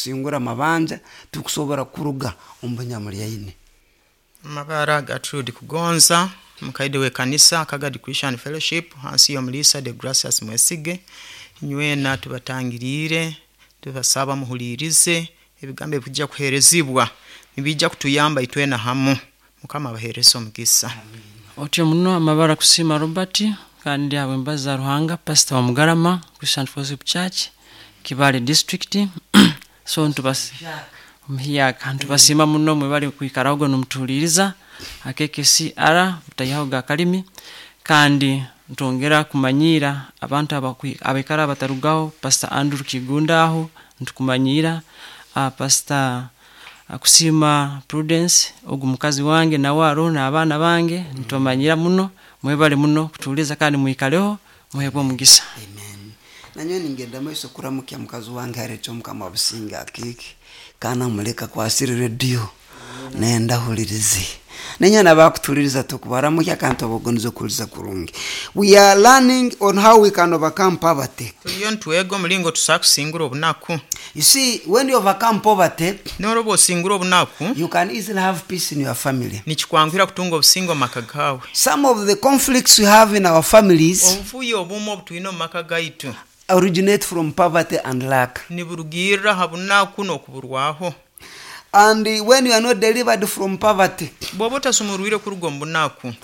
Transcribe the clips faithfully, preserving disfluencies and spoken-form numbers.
Kusingura amabanja, tukusobora kuruga omu bunyamulyaine. Amabara Gertrude Kugonza, mukaide w'ekanisa Kagadi Christian Fellowship hansi y'omulisa de Gracias Mwesige. Nywena tubatangiriire, tubasaba muhuliirize ebigambo ebikujja kuheerezibwa, nibijja kutuyamba itwena hamu. Mukama abaheereze omugisa. Otyo muno. Amabara Kusima Robert, kandi abo embazi za Ruhanga, pastor wa Mugarama Christian Fellowship Church, Kibale District. So ntubas omuhiyaka ntubasiima muno, mwebale kwikaraho nomutuhuliriza K K C R butayihaho ga kalimi. Kandi ntwongera kumanyiira abantu abakwi- abaikara batarugaho. Pastor Andrew Kigunda, aho ntukumanyiira. uh, pastor uh, Kusima Prudence, ogu mukazi wange, nawe aroho n'abaana bange, ntubamanyira muno. Mwebale muno kutuhuliza kandi mwikaleho, muhebwe omugisa. Amen. Nanyowe ningenda maiso kuramukya mukazi wange areeta Omukama wa businga akiki kana muleka kwasire rediyo nenda hulirize. Nenyana bakutuliriza, tukubaramukya kandi tubagoniza okuhuliza kurungi. We are learning on how we can overcome poverty. Tuliyo nitwega omulingo tusobola kusingura obunaku. You see, when you overcome poverty, Noroba osingura obunaku, you can easily have peace in your family. Nikikwanguhira kutunga obusinge omu maka gawe. Some of the conflicts we have in our families Obuvuyo obumu obutwine omu maka gaitu originate from poverty and lack. Niburugirra ha bunaku n'okuburwaho. And uh, when you are not delivered from poverty, Bw'oba otasumurwire kuruga omu bunaku,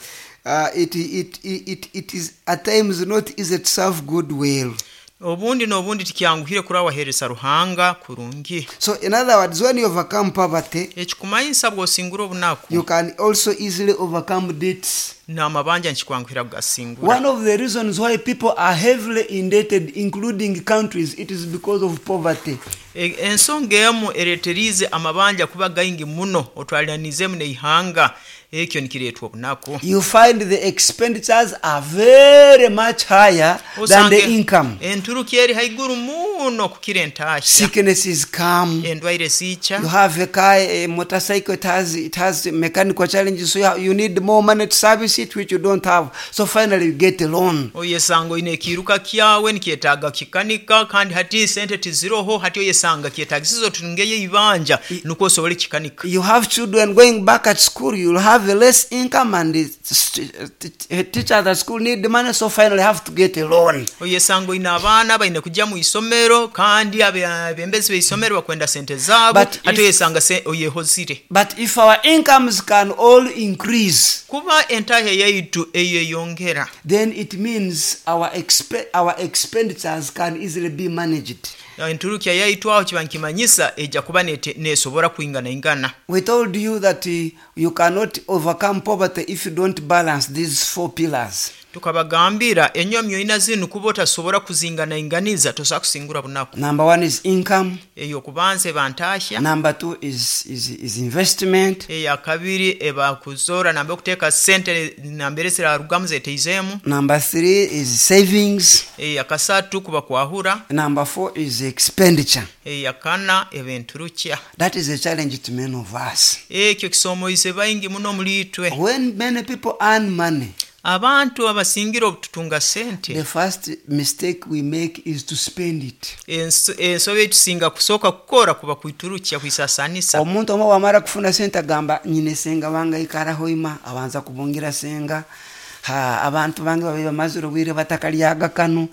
uh, it, it, it, it, it is at times not easy to serve God well. Obundi n'obundi tikyanguhire kuraba waheereza Ruhanga kurungi. So, in other words, when you overcome poverty, Ekikumanyisa bw'osingura obunaku, you can also easily overcome debts. N'amabanja nikikwanguhira kugasingura. One of the reasons why people are heavily indebted, including countries, it is because of poverty. E- ensonga emu ereeteriize amabanja kuba gaingi muno, otwaliranizemu n'eihanga, ekyo nikireetwa obunaku. You find the expenditures are very much higher than the Osange income. Enturuki eri haiguru muno kukira entahya. Sicknesses come. Endwaire ziija. You have a car, a motorcycle, it has, it has mechanical challenges, so you, you need more money to service it, which you don't have. So finally, you get a loan. Oyesanga oine ekiiruka kyawe nikyetaaga kikanika, kandi hati sente tiziroho. Hati oyesanga kyetagisiza otungeyo ibanja nukwo osobole kikanika. You have children going back at school, you'll have a less income, and the st- t- teachers at school need the money, so finally have to get a loan. Oyesanga oine abaana baine kujya mu isomero, kandi abe- abembezi b'isomero bakwenda sente zaabo. But Hati if- oyesanga se- oyehozire. But if our incomes can all increase, Kuba entahya yaitu eyeyongera, then it means our, expe- our expenditures can easily be managed. Enturukya yaitu aho kiba nkimanyisa ejja kuba nete- nesobora kwinganaingana. We told you that uh, you cannot overcome poverty if you don't balance these four pillars. Tukabagambira enyomyo ina zinu, kuba otasobora kuzinganainganiza tosobola kusingura bunaku. Number one is income. Eyokubanza eba ntahya. Number two is, is, is investment. Eyakabiri eba kuzora nambe okuteeka sente nambere zirarugamu zeteizeemu. Number three is savings. Eyakasatu kuba kwahura. Number four is expenditure. Eyakana eba enturukya. That is a challenge to many of us. Ekyo kisomoize baingi muno muli itwe. When many people earn money, Abantu abasingira obututunga sente, the first mistake we make is to spend it. enso- ensobi etusinga kusooka kukora kuba kwiturukya, kwisasanisa. Omuntu omwe wamara kufuna sente agamba, "Nyine senga wange aikaraho ima," abanza kubungira senga. Ha, abantu bange babiri bamazire obwire batakalyaga kanu.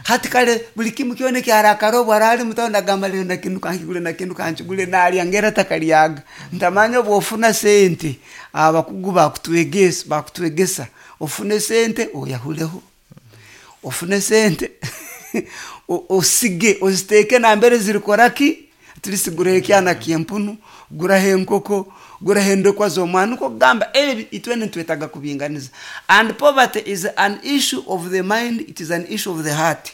Hati kale buli kimu kyona ekyarakara, obu arali mutawuni agamba, "Lero nakindu kankigule, nakindu kankigule," nalya ngera takalyaga. Ntamanya obwofuna sente, abakugu bakutwegesa bakutwegesa ofune sente oyahuleho, ofune sente o- osige, oziteeke nambere zirikoraki. Tulisiguraho ekyana kyempunu, guraho enkoko, guraho endokwa z'omwana. Niko kugamba ebi itwene nitwetaga kubinganiza. And poverty is an issue of the mind, it is an issue of the heart.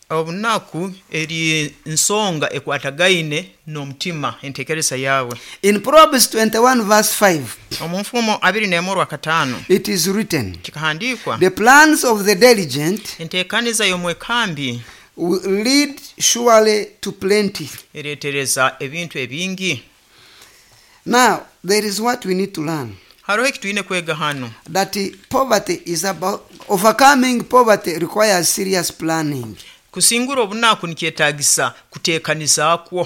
Obunaku eri nsonga ekwatagaine n'omutima, entekereza yawe. In Proverbs twenty-one verse five, Omu Nfumo abiri n'emu orwakataano, it is written, kikahandiikwa, "The plans of the diligent enteekaniza y'omwekambi will lead surely to plenty." ereetereza ebintu ebingi. Now there is what we need to learn, Hariho ekitwine kwega hano, that uh, poverty is about overcoming poverty requires serious planning. Kusingura obunaku nikyetagisa kuteekanizaakwo.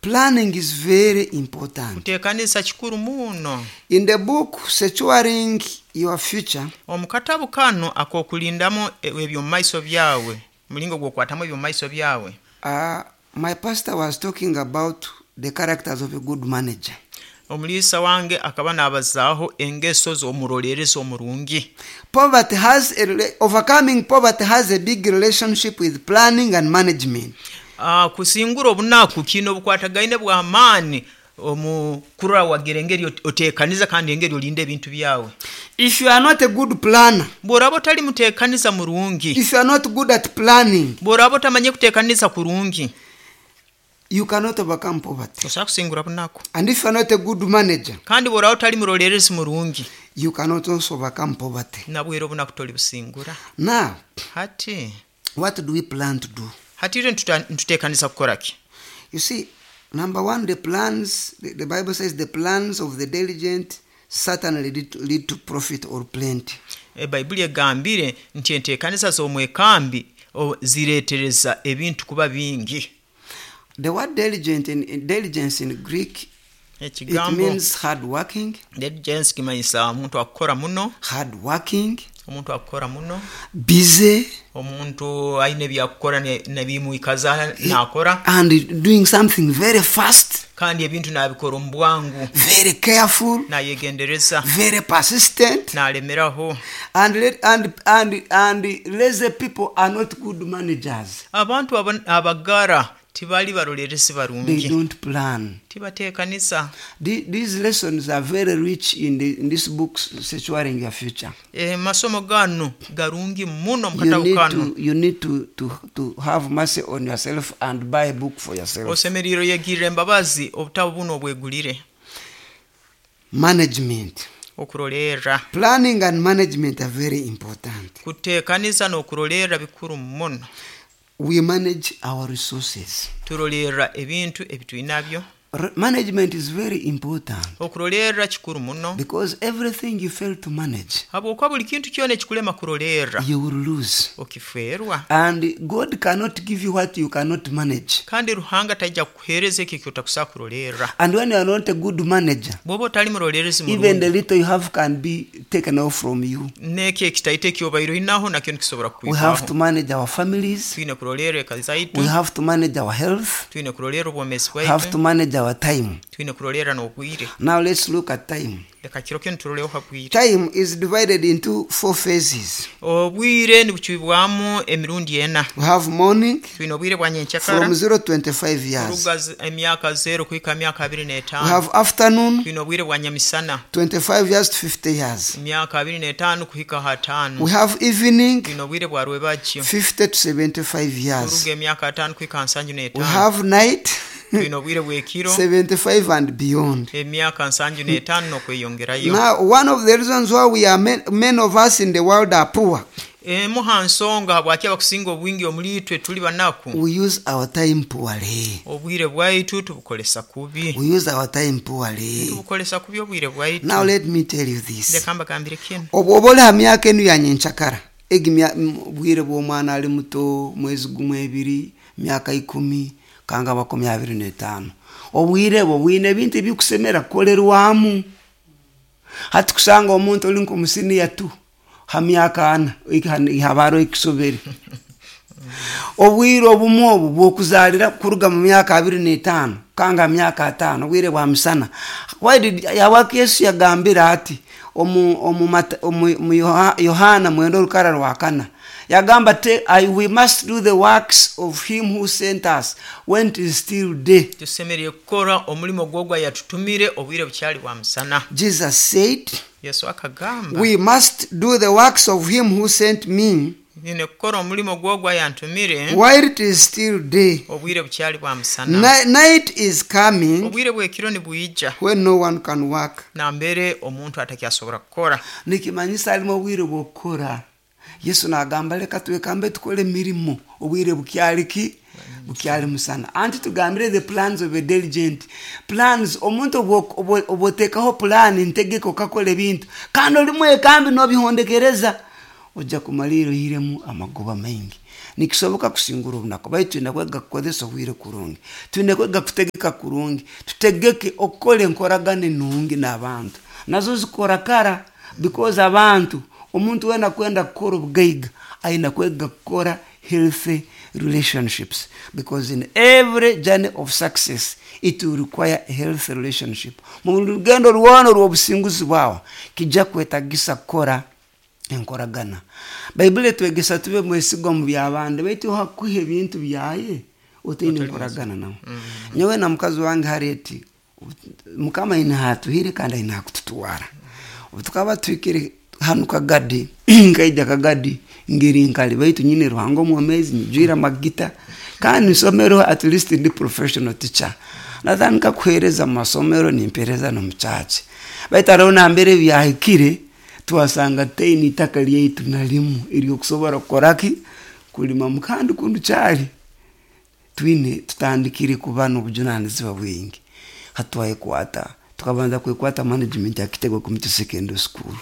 Planning is very important. Kuteekanisa kikuru muno. In the book Securing Your Future, omu katabu kano ak'okulindamu eby'omu maiso byawe, mulingo gw'okwatamu eby'omu maiso byawe, uh, my pastor was talking about the characters of a good manager. Omuliisa wange akaba n'abazaaho engeso z'omuroleerezi omurungi. Poverty has a rela- overcoming poverty has a big relationship with planning and management. Ah, kusingura obunaku kiine obukwatagaine bw'amaani omu kurora wagira engeri ot- oteekaniza kandi engeri olinda ebintu byawe. If you are not a good planner, bw'oraba otali muteekaniza murungi, if you are not good at planning, bw'oraba otamanye kuteekaniza kurungi, you cannot overcome poverty. Tosobola kusingura bunaku. And if you are not a good manager, kandi bw'oraba otali muroleerezi murungi, you cannot also overcome poverty. Nabwera obunaku tolibusingura. Now, hati what do we plan to do? Hati itwe nituta- nituteekaniza kukora ki? You see, number one, the plans, the, the Bible says the plans of the diligent certainly lead to, lead to profit or plenty. Bayibuli egambire nti enteekaniza z'omwekambi o- zireetereza ebintu kuba bingi. The word diligent in, in diligence in Greek, it ekigambo means hard working, diligence kimanyisa omuntu akukora muno, hard working, omuntu akukora muno, busy, omuntu ayina ebyakukora ne- nebimwikaza nakora, and doing something very fast, kandi ebintu nabikora omu bwangu, very careful, nayegendereza, very persistent, nalemeraho. and let, and and and lazy people are not good managers. Abantu aba- abagara tibali barolerezi They barungi. don't plan. Tibateekanisa. The- These lessons are very rich in, the, in this book, Securing Your Future. E, masomo gano garungi muno mu You katabu need kano. to you need to, to, to have mercy on yourself and buy a book for yourself. Osemerire oyegirire embabazi obutabu buno obwegulire. Management. Okurolerra. Planning and management are very important. Kuteekaniza n'okurolerra bikuru muno. We manage our resources. Turolerra ebintu ebitwinabyo. R- management is very important Okurolerra kikuru muno because everything you fail to manage, habwokuba buli kintu kyona ekikulema kurolerra, you will lose. Okifeerwa. And God cannot give you what you cannot manage. Kandi Ruhanga tajja kukuheereza ekyo ekyotakusobola kurolerra. And when you are not a good manager, bw'oba otali murolerezi even murungi, the little you have can be taken off from you. N'ekyo ekitaito ekyobaire oinaho nakyo nikisobora We have to kukwibwaho. manage our families. Twine kurolerra eka zaitu. We have to manage our health. Twine kurolerra obwomeezi We have to bwaitu. manage our time. Twine kurolerra n'obwire. Now let's look at time. Leka kiro kinu turoleho ha bwire. Time is divided into four phases. Obwire nibucwibwamu emirundi ena. We have morning Twine obwire bwa nyenkyakara, from zero to twenty-five years. kuruga z- emyaka zero kuhika myaka abiri We n'etaano. have afternoon, Twine obwire bwa nyamisana, twenty-five years to fifty years. emyaka abiri n'etaano kuhika ha ataano. We have evening, Twine obwire bwa rwebagyo, fifty to seventy-five years. kuruga emyaka ataano kuhika nsanju We n'etaano. have night, Twine obwire bw'ekiro, seventy-five and beyond. Emyaka nsanju n'etaano n'okweyongerayo. Now, one of the reasons why we are men, many of us in the world are poor, Emu ha nsonga habwaki abakusinga obwingi omuli itwe tuli banaku, we use our time poorly. Obwire bwaitu tubukolesa kubi. We use our time poorly. Tubukolesa kubi obwire bwaitu. Now, let me tell you this. Leka mbagambire kinu. Obwoba oli ha myaka enu ya nyenkyakara, egi mya- m- bwire bw'omwana ali muto, mwezi gumu, ebiri, myaka ikumi kanga makumi abiri n'etaano, obwire bwo bwine ebintu ebikusemera kukolerwamu. Hati kusanga omuntu oli nk'omusiniya tu ha myaka ana haba hariho ekisobere. Obwire obumu obu bwokuzaalira kuruga mu myaka abiri n'etaano kanga myaka ataano, obwire bwa misana. Why did habwaki Yesu yagambire ati omu, omu, Mata- omu, mu Yoha- yohana mwenda orukara rwa kana, yagamba te I, we must do the works of him who sent us when it is still day. Tusemerire kukora omulimo gwogwo yatutumire obwire bukyali bwa musana. Jesus said Yesu akagamba, we must do the works of him who sent me nyine kukora omulimo gwogwo yantumire while it is still day. Obwire bukyali bwa musana. Ni- night is coming Obwire bwekiro nibwija when no one can work. Nambere omuntu atakyasobora kukora. Nikimanyisa alimu obwire bwokukora. Yesu nagamba leka twekambe tukole emirimu obwire bukyali ki, bukyali musana. Anti tugambire the plans of a diligent plans, omuntu obwo- obwo- obwoteekaho plan ntegeka okakola ebintu kandi oli mwekambi nobihondekereza. Ojja kumalira oihiremu amagoba maingi. Nikisoboka kusingura obunaku, baitu twine kwega kukozesa obwire kurungi, twine kwega kutegeka kurungi, tutegeke okukora enkoragana enungi n'abantu, nazo zikora kara, because abantu, omuntu wena kwenda kukora obugaiga aina kwega kukora healthy relationships, because in every journey of success it will require a healthy relationship. Mu rugendo rwona rw'obusinguzi bwawe kijja kwetagisa kukora enkoragana. Baibuli etwegesa tube mwesigwa mu by'abandi, baitu hakuha ebintu byaye otaine enkoragana nabo. Nyowe na mukazi wange Harriet, Mukama aine hatuhire kandi aine hakututwara. Obu tukaba tuhikire hanu Kagadi, nkaija Kagadi ngeri nkali, baitu nyine Ruhanga omwomezi, nyijwire amagita, kandi nsomero at least ndi professional teacher. Natandika kuhereza mu masomero, nimpereza no mu church. Baitu hariho nambere byahikire, twasanga tutaine itaka lyaitu na limu eryokusobora kukoraki, kulimamu, kandi kundu kyali twine tutandikire kuba n'obujunanizibwa bwingi. Hatwayekwata, tukabanza kwekwata management ya Kitego Community Secondary School,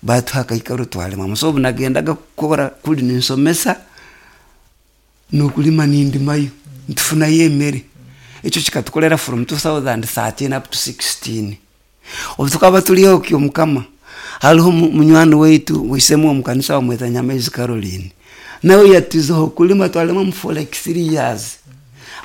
batuha akaikaro twalimamu. So obu nagendaga kukora kuli ninsomesa n'okulima nindimayo, nitufunayo emere. Ekyo kikatukorera from two thousand thirteen up to sixteen. Obu tukaba turiho kyomukama, hariho munywani waitu wisemu omu kanisa bamweta Nyamaizi Caroline, nawe yatuzeho kulima, twalima for like three years.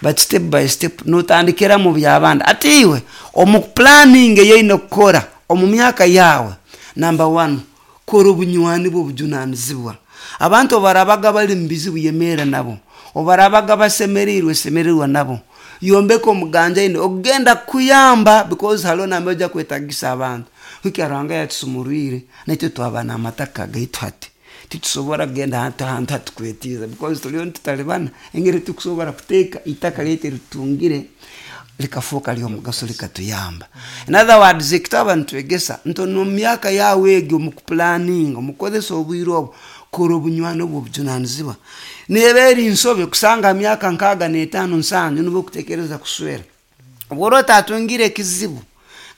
But step by step notandikira mu by'abandi. Ati iwe omu planning eyaine kukora omu myaka yawe, number one, kora obunywani bw'obujunanizibwa. Abantu barabaga bali mu bizibu yemera nabo, obarabaga basemereirwe semererwa nabo, yombeka omuganja ine ogenda kuyamba, because hariho nambere ojja kwetagisa abantu. Hiki Ruhanga yatusumurwire naitwe twaba n'amataka gaitu hati titusobora kugenda ahantu ahantu hatukwetiza, because turiyo nitutalibana engeri tukusobora kuteeka itaka lyaitu eritutungire likafuuka ly'omugaso likatuyamba. In other words, ekitaba nitwegesa nti omu myaka yawe egyo omu kupulaninga, omu kukozesa obwire obwo, kora obunywani obwo obujunanizibwa. Neeba eri nsobe kusanga myaka nkaaga n'etaano nsanju nibwo okutekereza kuswera. Obwo ora otatungire ekizibu,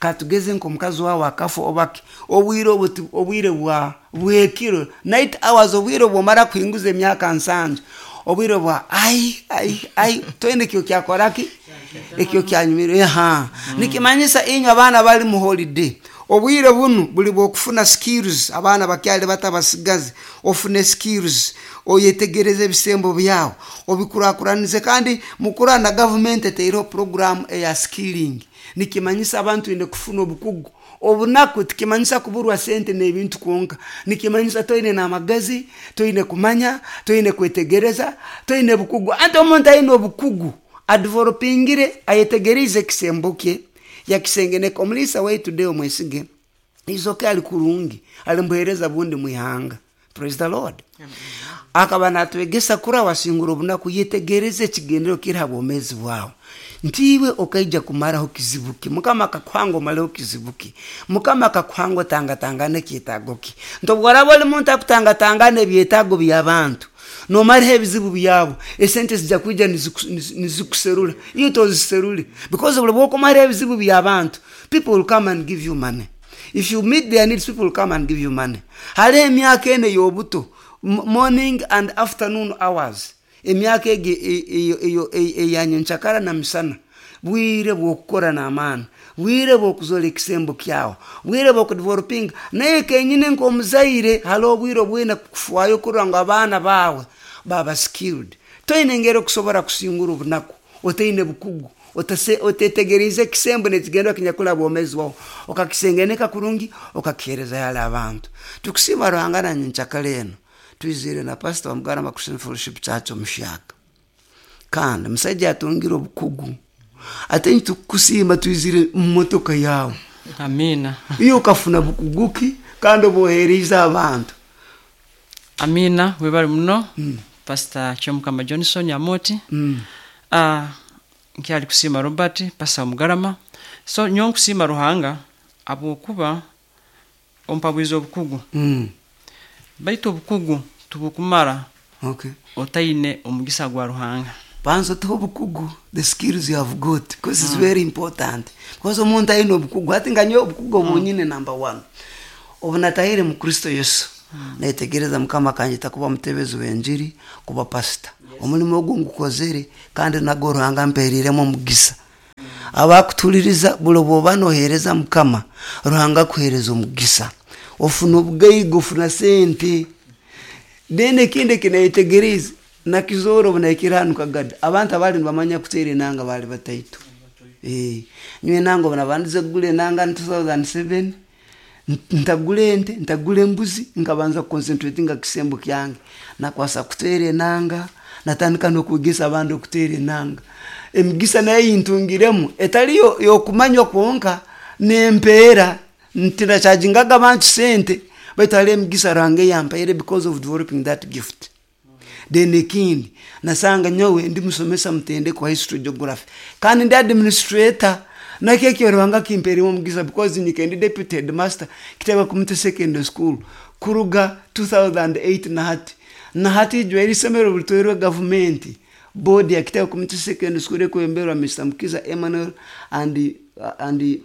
katugeze nk'omukazi wawe akafa obaki, obwire obwo obwire bwa bwekiro, night hours, obwire obwomara kuhinguza emyaka nsanju, obwire bwa ai ai ai twende ekyo kyakoraki, ekyo kyanyumire. Aha, nikimanyisa inywe abaana bali mu holiday, obwire bunu buli bwokufuna skills. Abaana bakyali bato abasigazi, ofune skills, oyetegereze ebisembo byawe, obikurakuranize. Kandi mukura na government eteireho program eya skilling, nikimanyisa abantu ine kufuna obukugu. Obunaku tikimanyisa kuburwa sente n'ebintu kwonka, nikimanyisa toine n'amagezi, toine kumanya, toine kwetegereza, toine bukugu. Anti omuntu aine obukugu adevelopingire, ayetegerize ekisembo kye, yakisengeneka. Omulisa waitu Deo Mwesige izoke ali kurungi, alimbuhereza bundi mwihanga. Praise the Lord. Akaba natwegesa kura wasingura obunaku, yetegereze ekigendero kiri ha bwomezi bwawe. Ntiwe okaija kumaraho kizibuki, Mukama akakuhanga omaleho kizibuki, Mukama akakuhanga otangatangane ekyetaago ki. Nti obworaba oli muntu akutangatangana ebyetaago by'abantu, nomaraho ebizibu byabo, esente zijja kwija nizikuserura, iyo toziserure, because buli bwokumara ebizibu by'abantu, people will come and give you money. If you meet their needs, people will come and give you money. Hariho emyaka ene y'obuto, morning and afternoon hours, emyaka egi eyanyenkyakara na misana, bwire bw'okukora n'amaani, bwire bw'okuzora ekisembo kyawe, bwire bw'okudevelopinga. Naye kenyine nk'omuzaire, hariho obwire obwine kufwayo kurora ngu abaana baawe baba skilled. Toine engeri okusobora kusingura obunaku otaine bukugu, otetegerize ekisembo n'ekigendwa kinyakula bwomezi bwawe, okakisengeneka kurungi, okakihereza yali abantu. Tukusiima Ruhanga na nyenkyakara eno twizire na pastor wa Mugarama Christian Fellowship Church omuhyaka, kandi musaija atungire obukugu. Ate nitukusiima twizire mu motoka yawe. Amina. Iyo okafuna bukuguki kandi obohereize abantu. Amina, webale muno. Mm. Pastor Kyomukama Johnson Amoti. Mm. Ah, nkyali kusiima Robert, Pastor Mugarama. So nyo nkusiima Ruhanga abwokuba ompabwiza obukugu. Mm. Baitu obukugu tubukumara. Okay. Otaine omugisa gwa Ruhanga. Banza tuho obukugu, the skills you have got, because it's mm. very important. Because omuntu aine obukugu, ati nga nyo obukugu obunyine mm. number one. Obu natahire mu Kristo Yesu. Netegereza Mukama akanyeta kuba mutebezi w'enjiri, kuba pasita. Omulimo ogu ngukozere kandi nago Ruhanga ampeeriremu omugisa. Abakutuliriza buli bwoba noheereza Mukama, Ruhanga akuheereza omugisa. Ofuna obugaiga, ofuna sente. Then ekindi ekineyetegerize nakizoora obu nahikire hanu Kagadi, abantu abali nibamanya kuteera enanga baali bataito. Eh, nyowe enanga obu nabandize kugura enanga in two thousand seven, ntagura ente, ntagura embuzi, nkabanza kuconcentratinga kisembo kyange. Nakwasa kuteera enanga, natandika n'okwegesa abandi okuteera enanga. Emigisa nayo eyintungiremu etali yo- y'okumanywa kwonka, nempeera ntinachagingaga abantu sente, baitu hariho emigisa Ruhanga eyampaire because of developing that gift. Then ekindi nasanga nyowe ndi musomesa mutendekwa history geography kandi ndi administrator, nakyo ekyo Ruhanga kimpeeremu omugisa because nyike ndi deputy headmaster Kitebe Community Secondary School kuruga two thousand eight na hati. Na hati ijwe isomero bulitwerwe gavumenti board ya Kitebe Community Secondary School ekwemberwa Mister Mukiza Emmanuel and, and,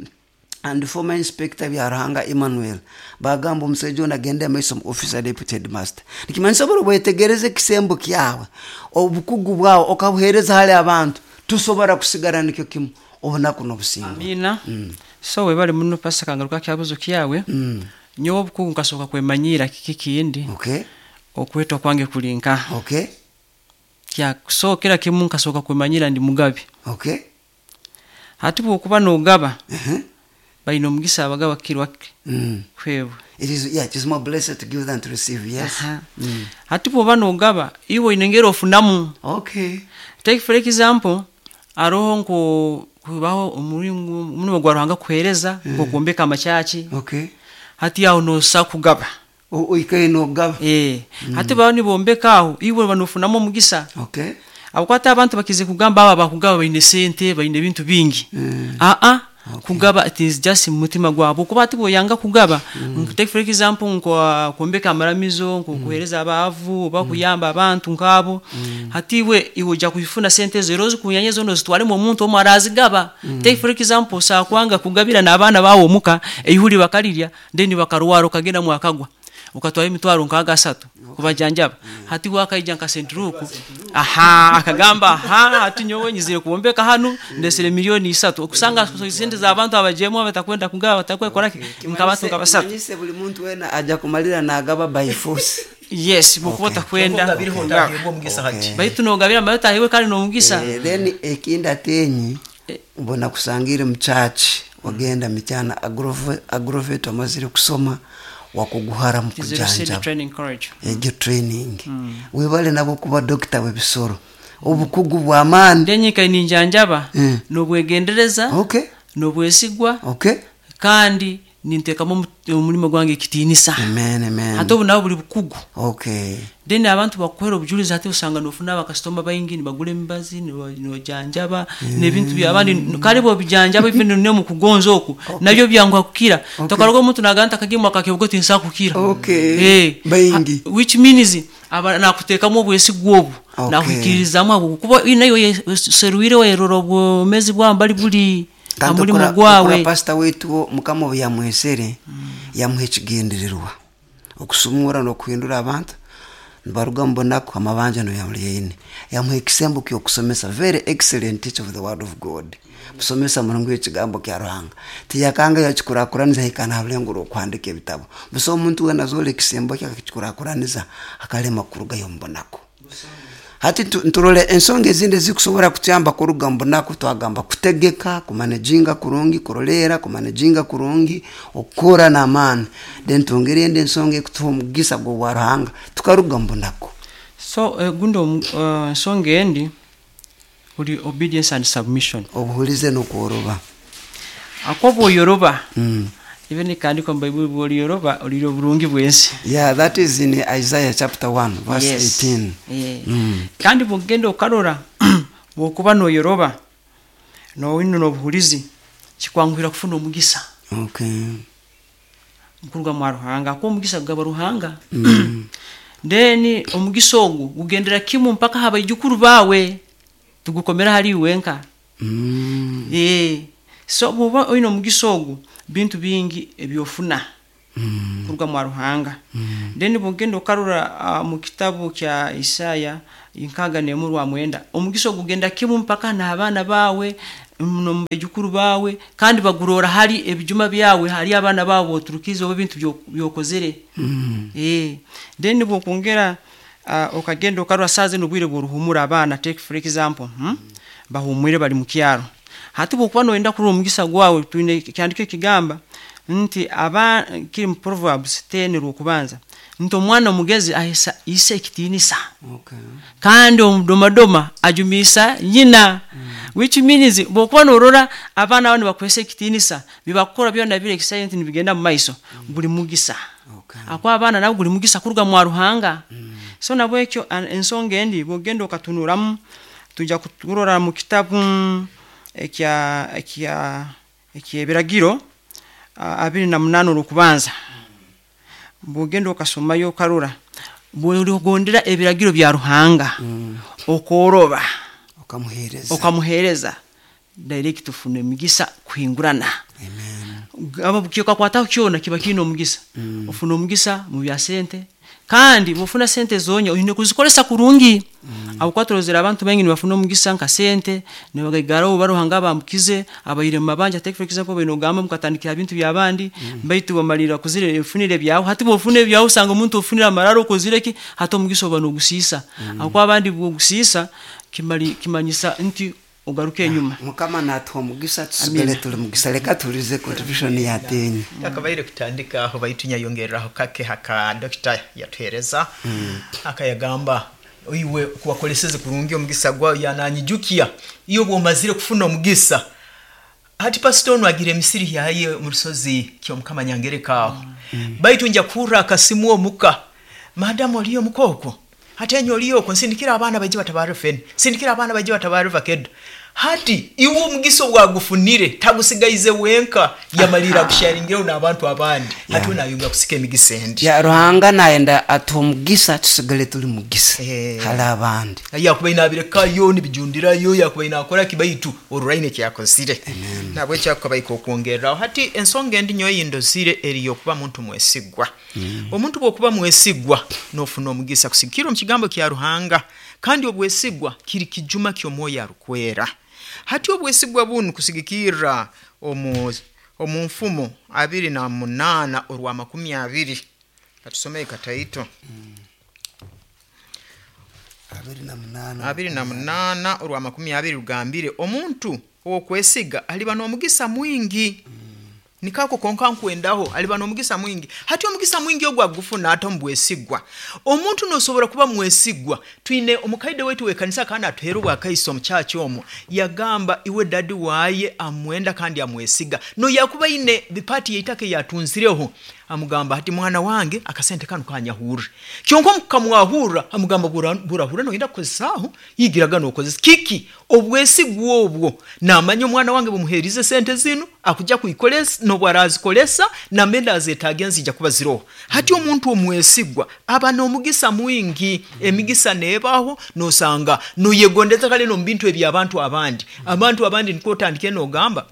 and former inspector bya Ruhanga Emmanuel. Bagamba omusajja ono agende amaiso mu office ya deputy headmaster. Nikimanyisa buri bwetegereze ekisembo kyawe, obukugu bwawe okabuheereza hali abantu, tusobora kusigara nikyo kimu obunaku n'obusingo. Amina. Mm. So webale muno pastor kangaruka kyabuzo kyawe. Mm. Nyowe obukugu nkasoka kwemanyira kiki kindi. Okay. Okwetwa kwange kulinka. Okay. Kya so kila kimu nkasoka kwemanyira ndi mugabi. Okay. Hati bwokuba n'ogaba. Uh-huh. Balina omugisa abagaba kirwa Mm. kwebwe. It is, yeah, it is more blessed to give than to receive, yes. Aha. Mm. Hati bwoba n'ogaba, iwe oyina engeri ofunamu. Okay. Take for example, aroho nko kubaho omuringo omurimo gwa Ruhanga kuhereza, Mm. nko kwombeka amachachi. Okay. Hati aho nosa kugaba. O-, oikaye n'ogaba. Eh. Mm. Hati baho nibombeka aho, iwe banofunamu omugisa. Okay. Abakwata abantu bakize kugamba aba bakugaba baine sente, baine ebintu bingi. Mm. Ah ah. Okay. Kugaba it is just mutima gwabo. Kuba ati boyanga kugaba. Mm. Take for example nko kuombeka amaramizo, nko Mm. kuhereza abavu, oba Mm. kuyamba abantu nkabo. Mm. Hati iwe iwe ojja kufuna sente zero zikunyanyeza ono zitwale mu muntu omwe arazigaba. Mm. Take for example sakwanga kugabira n'abaana bawo omuka, eihuri bakalirya, then bakarwara okagenda mwakagwa. Ukatwara emitwaro nkaga asatu kubajanjaba. Mm. Hati wakaija nka Sentruku. Aha, akagamba aha, hati nyowe nyizire kuombeka hanu ndesere milioni isatu. Okusanga sente za abantu abajemu abatakwenda kugaba batakwekora ki nkabatu nkabasatu. Kimanyise buli muntu wena aja kumalira nagaba by force. Yes, bukuba Okay. takwenda. Ogabiriho ndahebwa omugisa hati. Baitu nogabira amayota ahiwe kandi nomugisa. Eh, then ekindi atenyi mbona kusangire mu church wagenda mityana agrove agrovet amazire kusoma wakuguhara mu kujanja. Training college. Ejo training. Mm. Webale nabo kuba doctor webisoro. Obukugu bwa maani. Ndenyika ninjanjaba mm. nobwegendereza. Okay. Nobwesigwa. Okay. Kandi nintekamo omulimo gwange ekitinisa. Amen, amen. Hati obu nabo buli bukugu. Okay. Then abantu bakuhera obujulizi hati osanga nofuna abakasitoma baingi nibagura emibazi, nibajanjaba, Mm. n'ebintu by'abandi kale bo bijanjaba even ne mu kugonza oku Okay. nabyo byanguha kukira. Okay. Tokaroga omuntu naganta akagimu akakebugo tinsa kukira. Okay. Eh. Baingi. Ha, which means aba nakuteekamu obwesigwa obu. Okay. Nakuhikirizamu abo kuba nayo seruire werora obwomezi bwambali buli Kandi amulimo okora- gwawe. okora pastor wetu Mukama obu yamwesere, yamuha ekigendererwa okusumura n'okuhindura abantu nibaruga mu bunaku amabanja noyamulyaine. Yamuha ekisembo ky'okusomesa, very excellent teacher of the word of God. Musomesa murungi w'ekigambo kya Ruhanga. Tiyakanga yakikurakuraniza hikana ha rulengo rw'okuhandika ebitabo. Busa omuntu wena azoora ekisembo kye akakikurakuraniza akalema kurugayo omu bunaku. Hati tu-, nturole ensonga ezindi ezikusobora kutuyamba kuruga mu bunaku, twagamba kutegeka, kumanejinga kurungi, kuroleera, kumanejinga kurungi, okukora n'amaani. Then twongere endi ensonga ekutuha omugisa gw'obwa Ruhanga tukaruga mu bunaku. So, eh, gundi omu-, eh, ensonga endi buli obedience and submission. Obuhulize n'okworoba. Akoba oyoroba. Mm. Even ikandikwa mu Bible bw'olyoroba olirya oburungi bw'ensi. Yeah, that is in Isaiah chapter one verse Yes. eighteen. Yeah. Mm. Kandi bw'ogenda okarora bw'okuba n'oyoroba n'owino n'obuhulizi kikwanguhira kufuna omugisa. Okay. Nkuruga mwa Ruhanga, ko omugisa gugaba Ruhanga. Mm. Then omugisa ogwo gugendera kimu mpaka habaijukuru bawe tugukomera hali wenka. Mm. Eh. So bw'oba oyina omugisa ogwo bintu bingi ebyofuna. mm. kuruga mwa Ruhanga. mm. Then bwogenda okarora uh, mu kitabu kya Isaya inkaga nemurwa mwenda, omugisa ogugenda kimu mpaka n'abaana bawe nomubejukuru bawe, kandi bagurora hali ebijuma byawe, hali abaana bawe oturukize oba ebintu byokozere. mm. Eh, then bwokongera uh, okagenda okarora saze nobwire bworuhumura abaana, take for example, hmm? Bahumwire bali mu kyaro. Hati bwokuba noyenda kurora omugisa gwawe, twine kyandiko ekigamba nti aba kiri mu Proverbs ten rwokubanza nti omwana omugezi ahesa ise ekitinisa. Okay. Kandi omudomadoma ajumisa nyina. mm. Which means bwokuba norora abaana bano bakwesa ekitinisa, bibakora byona bire excitement nibigenda mu maiso, mm. guli mugisa. Okay. Akwa abaana nabo guli mugisa kuruga mwa Ruhanga. mm. So nabwekyo ensonga endi bwogenda okatunuramu, tujja kuturora mu kitabu ekya ekya ekyebiragiro abiri na munana olwokubanza. Bwogenda okasomayo okarora bw'oligondera ebiragiro bya Ruhanga, mm. okoroba okamuhereza, okamuhereza direct ufune emigisa kuhingurana. Amen. Aba kyokakwataho kyona kiba kiine omugisa. mm. Ofuna omugisa mu bya sente, kandi bwofuna sente zonya oyine kuzikolesa kurungi. mm. Abukwatorozera abantu bengi nibafuna omugisa nka sente nibagaigaraho baruhanga bamukize abayire mu mabanja, take for example bino gamba mukatandikira bintu byabandi, mm. baitu bamalira kuzire efunire byawo. Hati bwofuna ebyawo usanga omuntu ofunira amararo okozire ki, hati omugisa oba nogusisa. mm. Akwa abandi bwogusisa kimali kimanyisa nti ogaruke enyuma. Mukama natuha omugisa tusigale tuli mugisa. Leka tulize contribution ya tenyi yakabaire kutandika aho baitu nyayongereraho kake haka doctor yatuhereza. mm. Akayagamba iwe kuwakoleseze kurungi omugisa gwawe, yananyijukia iyo bwomazire kufuna omugisa. Hati pastor ono agira emisiri yaye mu rusozi kyomukama nyangereka aho. mm. Baitu nja kuhurra akasimu omuka, madamu oliyo mukoko hati enyo oliyo okwo, nsindikira abaana baije batabare fene, sindikira abaana baije batabare vakedo. Hati iwe omugisa obwagufunire tagusigaize wenka, yamalira kusharingira n'abantu abandi. Yeah. Hati nayunga kusika emigisa endi. Ya Ruhanga nayenda atuha omugisa tusigale tuli mugisa Eh. hali abandi. Yakuba inabirekayo nibijundirayo, yakuba inakora kibaitu oruraine kyakozire. Nabwe kyakabaika okwongereraho. Hati ensonga endi nyowe yindozire eriyo kuba muntu mwesigwa. mm. Omuntu bwokuba mwesigwa nofuna omugisa kusikira omu kigambo kya Ruhanga, kandi obwesigwa kiri kijuma ky'omwoyo arukwera. Hati obwesigwa bunu kusigikirra omu omu nfumo abiri na munana orwa makumi abiri. Katusomeye kataito. mm. Abiri na munana. Abiri na munana orwa makumi abiri rugambire omuntu owokwesiga aliba n'omugisa mwingi. mm. Nikako konka nkwendaho aliba n'omugisa mwingi. Hati omugisa mwingi ogwo agufuna ate omubwesigwa. Omuntu nosobora kuba mwesigwa. Twine omukaide wetu w'ekanisa kandi atuheera obwakaiso omu kyaki omwo, yagamba iwe dadi waye amwenda kandi amwesiga. No yakuba ine bipati yeitaka yatunzireho, amugamba hati mwana wange akasente kanu kanyahurre. Kyonka mukamwahurra amugamba burahurra noyenda kukozesaho, yigiraga nokozesa kiki obwesigwa obwo. Namanya omwana wange bumuherize sente zinu akujja kuikolesa nobwarazikolesa namenda azetage nzija kuba ziroho. Hati omuntu omwesigwa aba n'omugisa mwingi, emigisa nebaho nosanga noyegondeza kale no bintu eby'abantu abandi. Abantu abandi niko otandike nogamba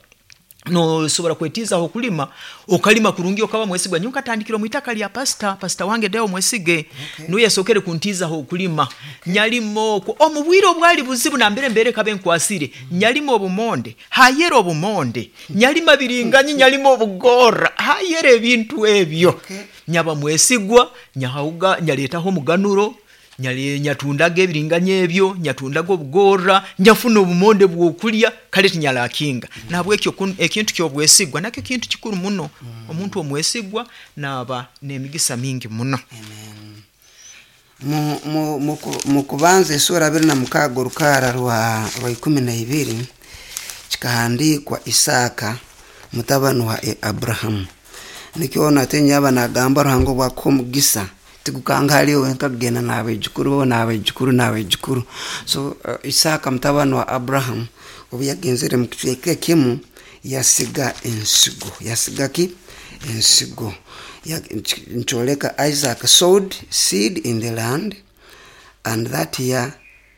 nosobora kwetizaho okulima, okalima kurungi okaba mwesigwa. Nyowe nkatandikira omwitaka lya pastor, pastor wange deo mwesige. Okay. Nuye yasokere kuntizaho okulima. Okay. Nyalimo okwo omu bwire obwali buzibu nambere mbere kabe nkwasire. mm. Nyalimo obumonde, hayera obumonde, nyalima biringanyi, nyalimo obugora, hayera ebintu ebyo. Okay. Nyaba mwesigwa, nyahauga, nyaletaho omuganuro, nyale nyatundaga ebiringanya ebyo, nyatundaga obugora, nyafuna obumonde bwokulya, kale tinyalakinga. mm. Nabwekyo ekintu ky'obwesigwa nakyo kintu kikuru muno. mm. Omuntu omwesigwa naba n'emigisa mingi muno. Amen. Mu, mu, mu, mu kubanza esura abiri na mukaaga orukara rwa rwa ikumi na ibiri kikahandikwa Isaaka mutabani wa Abrahamu. Nikyo natenye aba nagamba Ruhanga obwakuha omugisa tigukanga hali wenka kugenda n'abaijukuru bo n'abaijukuru n'abaijukuru. So uh, Isaaka mutabani wa Abrahamu obu yagenzere mu kicweka kimu yasiga ensigo, yasiga ki ensigo. Nkyoleka Isaac sowed seed in the land, and that year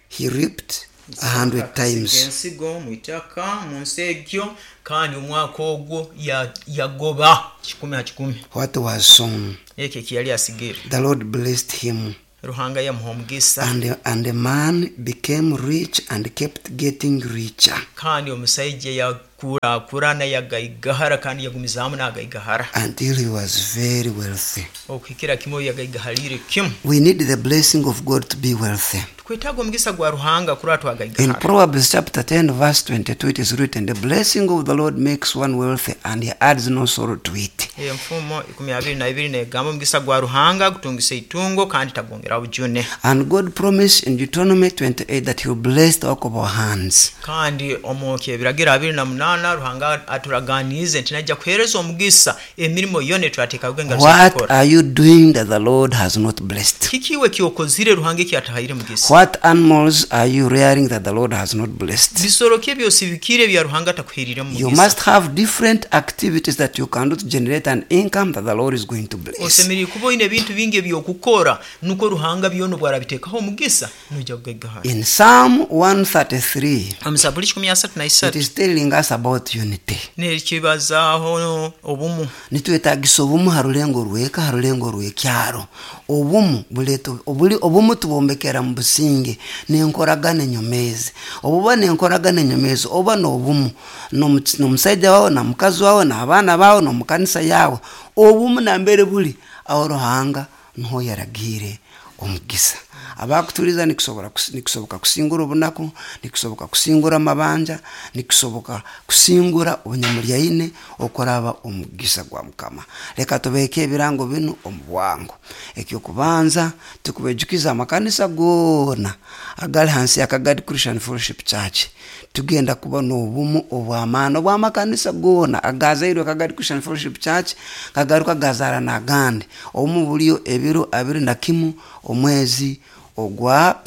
he reaped A hundred Isaka akasiga times. Ensigo mu itaka mu nsi egyo kandi omwaka ogwo ya- yagoba kikumi ha kikumi. What was sown? Ekyo ekiyali asigire. The Lord blessed him. Ruhanga yamuha omugisa. And, and the man became rich and kept getting richer kandi omusaija yakurakurana yagaigahara kandi yagumizaamu n'agaigahara until he was very wealthy. Okuhikira kimu yagaigahalire kimu. We need the blessing of God to be wealthy. Twetaaga omugisa gwa Ruhanga kurora In twagaigahara. Proverbs chapter ten, verse twenty-two, it is written, "The blessing of the Lord makes one wealthy, and he adds no sorrow to it." Enfumo ikumi abiri na ibiri negamba omugisa gwa Ruhanga gutungisa itungo kandi tagwongera bujune. And God promised in Deuteronomy twenty-eight that He will bless the work of our hands. Kandi omu kyebiragiro abiri na munaana Ruhanga aturaganiize nti najja kuheereza omugisa emirimo yona eturateekaga engaro zaitu What kukora. are you doing that the Lord has not blessed? Kiki iwe kyokozire Ruhanga ekyatahaire mugisa? What animals are you rearing that the Lord has not blessed? Bisoro ki ebyosibikire ebya Ruhanga atakuheerire mu You mugisa? must have different activities that you can do to generate an income that the Lord is going to bless. Osemerire kuba oine ebintu bingi ebyokukora nuko Ruhanga byona obwarabiteekaho omugisa noija kugaigahara. In Psalm one thirty-three, omu Zaburi kikumi asatu na it isatu is telling us about unity. Nekibazaaho obumu. Nitwetagisa obumu ha rulengo rweka, ha rulengo rw'ekyaro. Obumu buleeta obuli obumu tubombekera mu businge n'enkoragana enyomezi. Obuba n'enkoragana enyomezi oba n'obumu n'omu- n'omusaija wawe na mukazi wawe n'abaana bawe n'omukanisa yawe. Obumu nambere buli aho Ruhanga niho yaragiire omugisa. Abakutuliza nikusobora kus-, nikusoboka kusingura obunaku, nikusoboka kusingura amabanja, nikusoboka kusingura obunyamulyaine okuraba omugisa gwa Mukama. Leka tubeeke ebirango binu omu bwangu. Ekyokubanza tukubejukiza amakanisa goona agali hansi ya Kagadi Christian Fellowship Church. Tugenda kuba n'obumu obw'amaani obw'amakanisa goona agazairwe Kagadi Christian Fellowship Church kagaruka gazaara n'agandi. Obumu buliyo ebiro abiri na kimu omwezi ogwa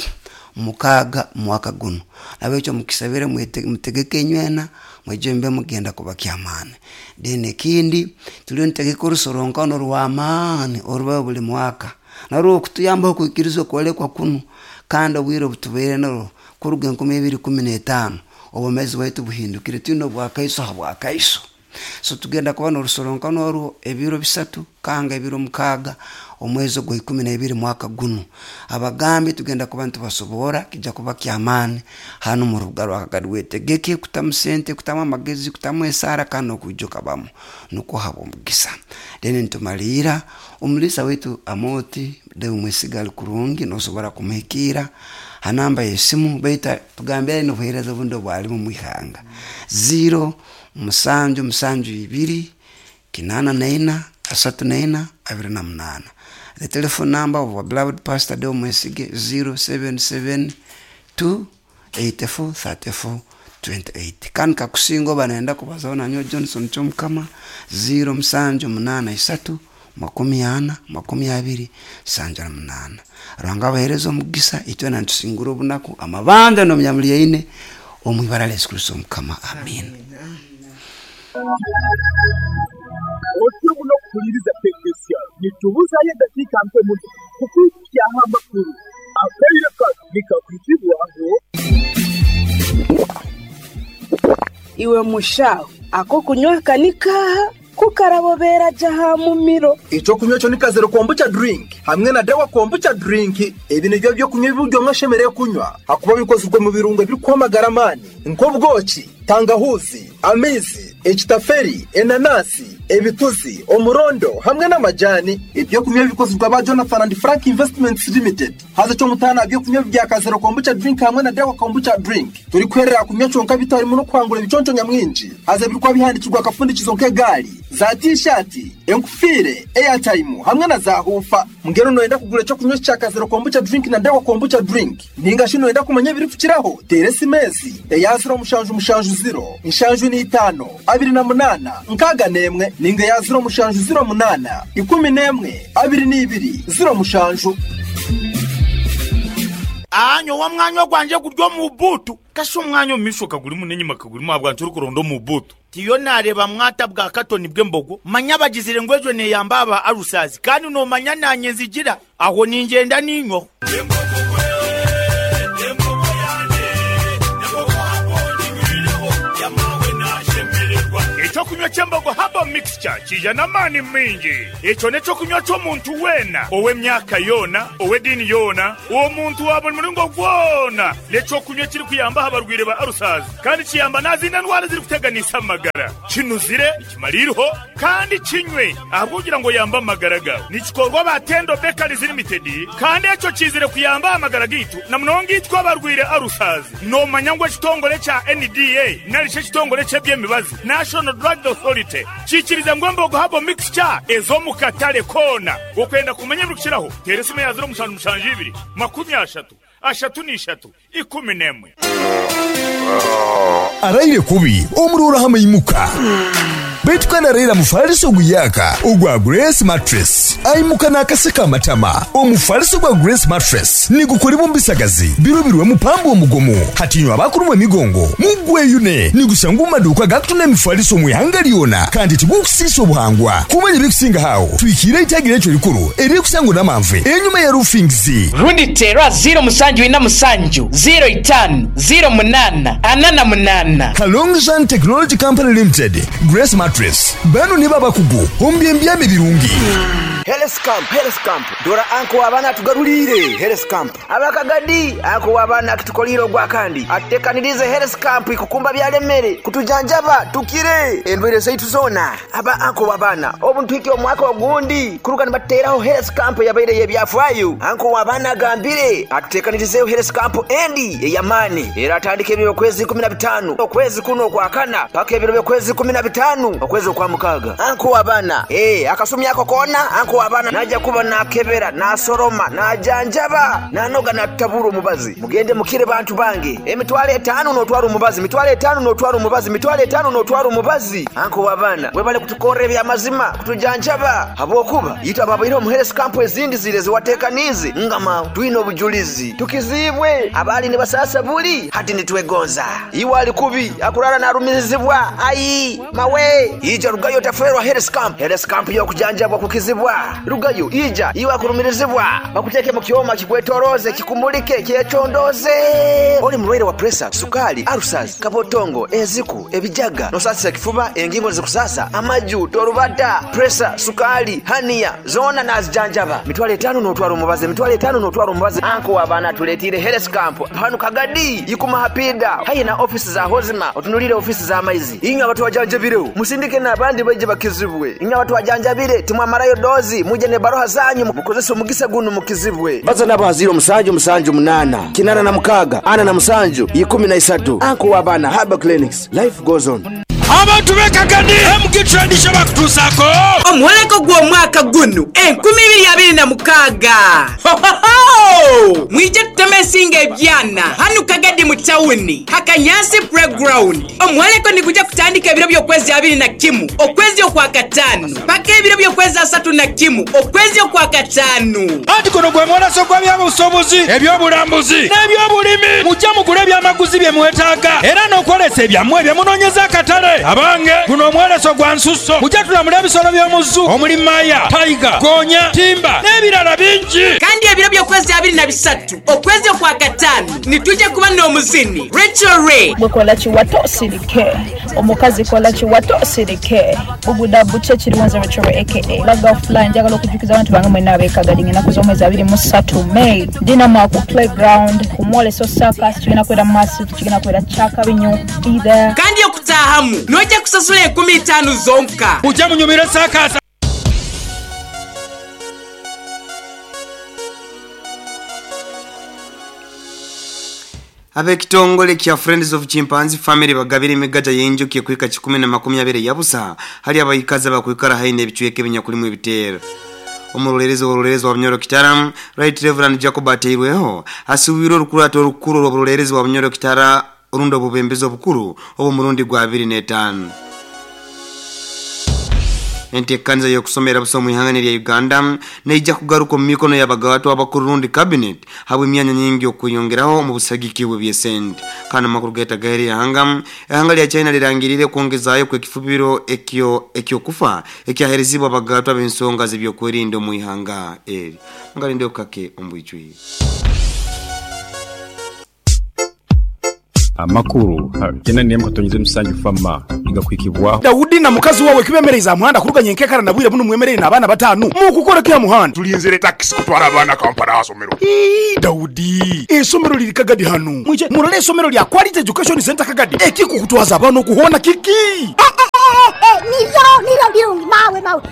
mukaaga mwaka guno. Nabwekyo mukisabire mwete-, mutegeke enywena mwije mbe mugenda kuba kyamaani. Then ekindi tuliyo nitegeka orusoronkano rw'amaani orubaho buli mwaka narwo okutuyambaho okwikiriza okwolekwa kunu kandi obwire obutubaire narwo kuruga enkumi ebiri kumi n'etaano obwomeezi bwaitu buhindukire twine obwakaiso ha bwakaiso. So tugenda kuba n'orusoronkano orwo ebiro bisatu kanga ebiro mukaaga omwezi ogwa ikumi n'ebiri mwaka guno. Abagambi tugenda kuba nitubasobora kijja kuba kyamaani hanu mu rubuga rwa Kagadi. Wetegeke kutamu sente, kutamu amagezi, kutamu esaara kandi n'okwijuka bamu nukwo haba omugisa. Then nitumaliira omulisa waitu Amoti Deo Mwesiga ali kurungi nosobora kumuhikiira ha namba y'esimu baita tugambire n'obuheereza obundi obwalimu mu ihanga zero musanju musanju ibiri kinana naina asatu naina abiri na munaana. The telephone number of our beloved Pastor Deo Mwesige zero seven seven two eighty four thirty four twenty eight. Kandi kakusinga oba nenda kubazaho nanyowe Johnson Kyomukama zero musanju munaana isatu makumi ana makumi abiri sanja na munaana. Ruhanga abahereza omugisa itwena nitusingura obunaku amabanja n'omunyamulyaine omu ibara lya Yesu Kristo Omukama. Amen. Otyo muno kuhuliriza P K C R nitubuzayo eddakiika mpe muno kukwikyaho amakulu akaire kano nikakwitibwaho. Iwe mushaho ako kunywa kanikaha kukarabobera jaha mumiro. Ekyokunywa ekyo ni Kazero Kombucha drink hamwe na Dawa Kombucha drink. Ebi nibyo byokunywa ebi omwe ashemereire kunywa hakuba bikozirwe mu birungo ebirikuha amaani nk'obwoki, tangahuzi, amaizi, ekitaferi, enanasi, ebituzi, omurondo hamwe n'amajani. Ebyokunywa bikozirwe aba Jonathan and Frank Investments Limited. Haza kyomutaana byokunywa bya Kazero Kombucha drink hamwe na Dawa Kombucha drink turikwerera kunywa kyonka bitarimu n'okuhangura ebiconco nyamwingi. Haza birikuba bihandikirwa akafundikizo nk'egaari za tishati, enkufiire, airtime hamwe na za hufa. Mbwenu noyenda kugura ekyokunywa kya Kazero Kombucha drink na Dawa Kombucha drink ninga shi noyenda kumanya ebirikukiraho, teera esimesi eya ziro mushanju mushanju ziro nshanju n'itaano abiri na munaana nkaaga n'emwe ninga eya ziro mushanju ziro munaana ikumi n'emwe abiri n'ibiri ziro mushanju. Anyo wa mwanya gwanje guryo mu butu kasho omwanya omumisho kagurimu n'enyima kagurimu abwantu orikuronda omu butu tiyo nareba mwata bwa katoni bw'embogo manya bagizire ngu ejo neyamba aba arusazi kandi nomanya nanye nzigira aho ningenda ninywaho. Ekyokunywa ky'embogo habo mixture kija n'amaani mingi. Ekyo n'ekyokunywa ky'omuntu weena ow'emyaka yoona, ow'eddiini yoona, omuntu wa buli muringo gwona. N'ekyokunywa ekirikuyamba abarwaire ba arusazi kandi kiyamba n'azindi ndwara ezirikuteganisa amagara. Kinuzire, nikimariiriho kandi kinywe ahabw'okugira ngu oyambe amagara gawe. Nikikorwa ba Tendo Bakeries Limited kandi ekyo kizire kuyamba amagara gaitu na munonga itwe abarwaire arusazi. Noomanya ngu ekitongore kya N D A nari shi ekitongore ky'eby'emibazi National Drug Authority kikiriza ngu embogo habo mixture ez'omu katare koona. Okwenda kumanya ebirikukiraho teera esimu ya ziro mushanju mushanju ibiri makumi ashatu ashatu n'ishatu ikumi n'emwe. Araire kubi omurora hamaimuka baitu kandi araira mufaliso guyaka ogwa Grace Mattress aimuka n'akaseka amatama. Omufaliso gwa Grace Mattress nigukolebwa mu bisagazi birobirwe mupambo omugomo hatinywa abakurumwa emigongo mugweyune nigusanga mu maduuka gakutunda emifaliso mu ihanga lyona kandi tigukusiisa obuhangwa. Kumanya ebikusinga hawo twikire eitagire ekyo likuru erikusangwa n'amanve enyuma ya roofings rundi tera ziro musanju ina musanju ziro itanu ziro munana anana munana. Kalongjan Technology Company Limited Grace Mattress bano ni babakugu ombyembyame birungi. Health Camp, Health Camp. Dora anko abana tugarulire Health Camp. Abakagadi anko abana kitukoliro gwa kandi. Atekanirize Health Camp ikukumba byalemere kutujanjaba tukire endwere zaitu zona. Aba anko abana obuntu hiki omwaka ogundi kuruka nibateraho Health Camp yabaire yebyafaayo. Anko abana gambire atekanirize Health Camp endi eyamani. Era atandike ebiro kwezi kumi na bitano okwezi kuno kwa kana paka ebiro kwezi kumi na bitano okwezi kwa mukaga. Anko abana eh akasumi yako kona anko abana naja kuba nakebera nasoroma najanjaba nanoga natabura omubazi. Mugende mukire bantu bange emitwalo etano notwara omubazi mitwalo etano notwara omubazi mitwalo etano notwara omubazi. Anko abana webale kutukorera ebyamazima kutujanjaba habwokuba yitwa babaire omu Health Camp ezindi zire ziwatekanize ngama twine obujulizi tukizibwe abali ne basasa buli hati nitwegonza iwe ali kubi akurara narumirizibwa ayi mawe ija rugayo taferwa Health Camp. Health Camp yokujanjabwa kukizibwa rugayo ija iwe akurumirizibwa bakuteke mu kyoma kikwetoroze kikumulike kyecondoze. Oli mulwaire wa pressure sukali arusas kabotongo eziku ebijaga nosasa kifuba engingo zikusasa amaju torubata pressure sukali hania zona nazijanjaba mitwalo etano notwara omubazi mitwalo etano notwara omubazi. Anko abana tuletire Health Camp hanu Kagadi yikuma hapida hayi na ofisi za hozima otunulire ofisi za maizi inywe abantu wajanjabire musindike n'abandi baje bakizibwe inywe abantu wajanjabire timwamarayo dozi muje ne baroha zanyu mukozesa omugisa guno mukizibwe. Baza nabo haziro musanju musanju munana kinana na mukaga ana na musanju ikumi na isatu. Anko abana Haba Clinics life goes on. Abantu bekagadi M G Tradition bakutusako omwoleko gw'omwaka guno enkumi ibiri abiri na mukaaga. Hohoho! Mwije tuteme esinga ebyana hanu Kagadi mu tawuni Hakanyasi playground. Omwoleko niguja kutandika ebiro by'okwezi abiri na kimu okwezi okwa kataano paka ebiro by'okwezi asatu na kimu okwezi okwa kataano. Anti kuno gwe mwolaso gw'ebyobusuubuzi ebyobulambuzi n'ebyobulimi mujja mugule ebyamaguzi bye mwetaaga era n'okwolesa ebyammwe bye munoonyeza akatale. Abange guno omwoleso gwa nsusso mujja tulamula ebisolo by'omuzu omuli maya tayiga gonya timba n'ebirala bingi. Kandi ebiro by'okwezi abiri na bisatu okwezi okwa kataano nitujja kuba n'omuzini Rachel Ray. Bwekola kiwato osirike omukazi kola kiwato osirike buguda buche kiriwanza Rachel Ray aka Laga offline. Njagala okujjukiza abantu bange mwenna ab'Ekagadi ng'ennaku z'omwezi abiri mu ssatu May ndina ku playground ku mwoleso circus kigenda kubeera massive kigenda kubeera kyakabinyo either. Kandi okutaahamu nojja kusasula enkumi ttaano zonka. Mujja munyumire circus. Abekitongole kya Friends of Chimpanzee Family bagabira emigaja y'enjoki ekwika kikumi na makumi abiri yabusa hali abayikazi abakwikara haine ebichweke ebinyakulimu ebiteero. Omulolelezi w'olulelezi wa Bunyoro Kitara Right Reverend Jacob Ateirweho asuubirwa olukulata olukulu olw'obulolelezi wa Bunyoro Kitara orundi obubembezi obukuru obw'omurundi gwa abiri n'etaano. Enteekaniza y'okusomera busa mu ihanga lya Uganda neija kugaruka mu mikono y'abagawato abakuru rundi cabinet habwe emyanya nyingi okweyongeraho mu busagiki bw'ebyesente. Kandi amakuru gaita gaheri ihanga ihanga lya China lirangirire kwongezaayo kw'ekifubiro ekyo ekyokufa ekyaherezibwa abagawato ab'ensonga z'ebyokwerinda mu ihanga eri. Ngalinde okake ombwijwi. Amakuru tena niyemu katonyize musanju fama igakwikibwaho. Daudi na mukazi wawe kibemereza muhanda kuruganya enkekara na bwire buno mwemerere n'abaana batanu mukukora kya muhanda tulinzire taxi kutwara abaana Kampala asomero. Ii Daudi esomero liri Kagadi hano mwije murole esomero lya Quality Education Center Kagadi ekikukutwaza abana okuhona kiki nivyo nivyo birungi mawe mawe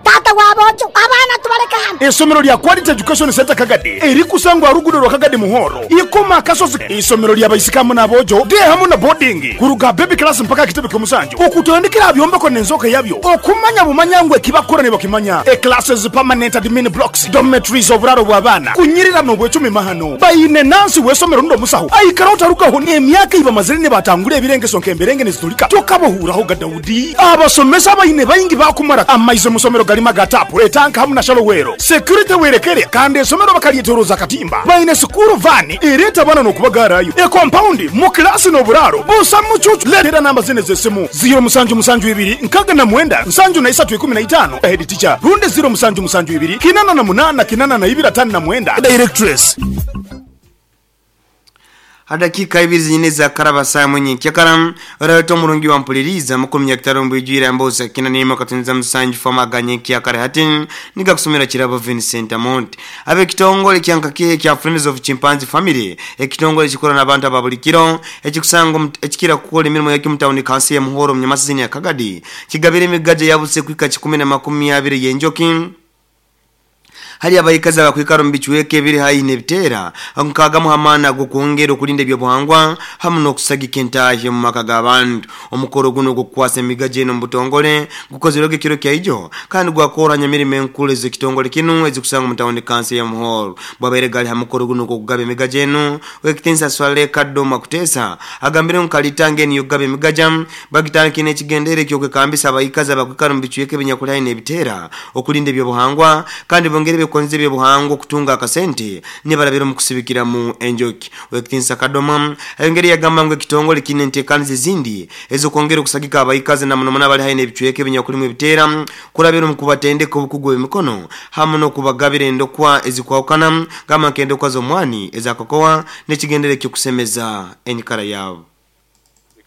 tata wabojo abana tubaleka hano. Esomero lya Quality Education Center Kagadi erikusangwa rugudo rwa Kagadi Muhoro ikoma kasozi. Isomero lya baisikamu nabojo de hamu na boarding kuruga baby class mpaka kitebe kyomusanju okutandikira byombeko nenzoka yabyo okumanya bumanyangwe kibakora ne bakimanya e classes permanent admin blocks dormitories oburaro bw'abana kunyirira no bwecumi mahano bayine nansi wesomero ndo musaho aikara utarukaho emyaka iba mazire batangure ebirengeso nkemberenge nezitulika tokabohuraho ga Daudi abasomesa bayine bayingi bakumara amaize musomero galima gatapu etanka hamu na shalowero security werekere kandi esomero bakalietoroza katimba bayine sukuru vani ereta bana nokubagarayo e compound mu class no buraro busa mucucu letera namba zine zesimu zero musanju musanju ibiri nkaga na mwenda nsanju na isatu ikumi na itano head teacher runde zero musanju musanju ibiri kinana na munana kinana na ibira tano na mwenda directress. Hadakika ibiri zinyine za karaba saa mwenye kyakaram rato murungi wa mpuliriza makumi ya kitaro mbijira mboza kina nima katunza msanju fama ganye kyakare hatin niga kusomera kirabo Vincent Amont abe kitongole kyanka kya Friends of Chimpanzee Family ekitongole kikora n'abantu ababulikiro ekikusanga ekikira kukola emirimo ya kimutawuni kansi ya Muhoro mnyamasizini ya Kagadi kigabire emigaje yabuse kwika kikumi na makumi abiri yenjoki hali abayikaza bakwikaro mbichweke biri hayi nebitera nkaga muhamana gukuongera okulinda ebyobuhangwa hamu n'okusagika entahe mu maka g'abantu. Omukoro guno gukwasa emigaje eno mubutongole gukozerwego ekiro kya ijo kandi gwakoranya emirimo enkulu ez'ekitongole kinu ezikusanga mu tawuni kansi ya Muhoro. Bwabaire gali ha mukoro guno gw'okugaba emigaje eno Owekitinsa Swale Kadoma Kutesa agambire nkalitanga eno yokugaba emigaja bagitandikire n'ekigendere eky'okwekambisa abayikaza bakwikaro mbichweke ebinyakuli hayi nebitera okulinda ebyobuhangwa kandi bongere konze bye buhango kutunga akasente nibarabira mu kusibikira mu enjoki. Owekitinsa Kadoma ayongere yagamba ngo ekitongole kine ntekanize zindi ezo kongera okusagika abayikazi na munomona bali haine ebicweke binyakuli mu bitera kurabira mu kubatendeka obukugu emikono hamu no kubagabira endokwa ezikwawukana gama nkendokwa z'omwani ezakokowa n'ekigendere kyokusemeza enyikara yabo.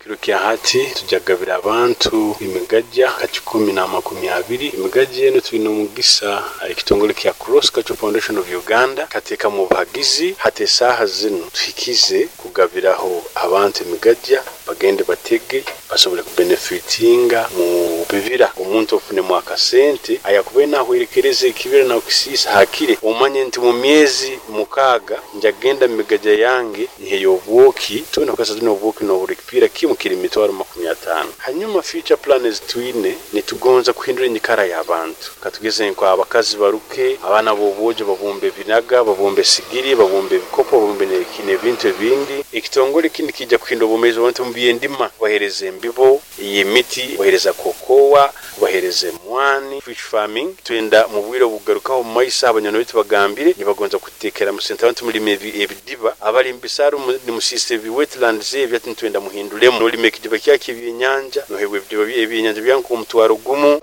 Kiro kya hati tujagabira abantu imigajja kachikumi na makumi abiri. Imigajja eno tulina omugisa ekitongole kya Cross Cultural Foundation of Uganda kateeka mu buhagizi hati esaaha zino tuhikize kugabiraho abantu imigajja bagende batege basobole kubenefitinga mu bibira. Omuntu ofunemu akasente ayakuba nahwerekereza ekibira nakisiisa hakire omanye nti mu myezi mukaaga njagenda mu migajja yange nheyo obwoki tuna kasa tuna obwoki n'obulikipira kimu kiri mitwaro makumi atano. Hanyuma future plans twine nitugonza kuhindura enyikara y'abantu katugeze nko abakazi baruke abana bobojo babumbe binaga babumbe sigiri babumbe ebikopo babumbe n'ebintu ebindi. Ekitongole kindi kijja kuhindura obumezi abantu mu byendima bahereze embibo y'emiti bahereza kokowa bahereze mwani fish farming twenda mu bwire bugarukaho mu maisa abanyano bitu bagambire nibagonza kutekera mu center abantu mulime ebidiba abali mbisaru ni musiste bi wetlands ebyati twenda muhindulemo nolime ekidiba kyaki ebyenyanja nohebwe ebidiba ebyenyanja byanku omutwaro gumu.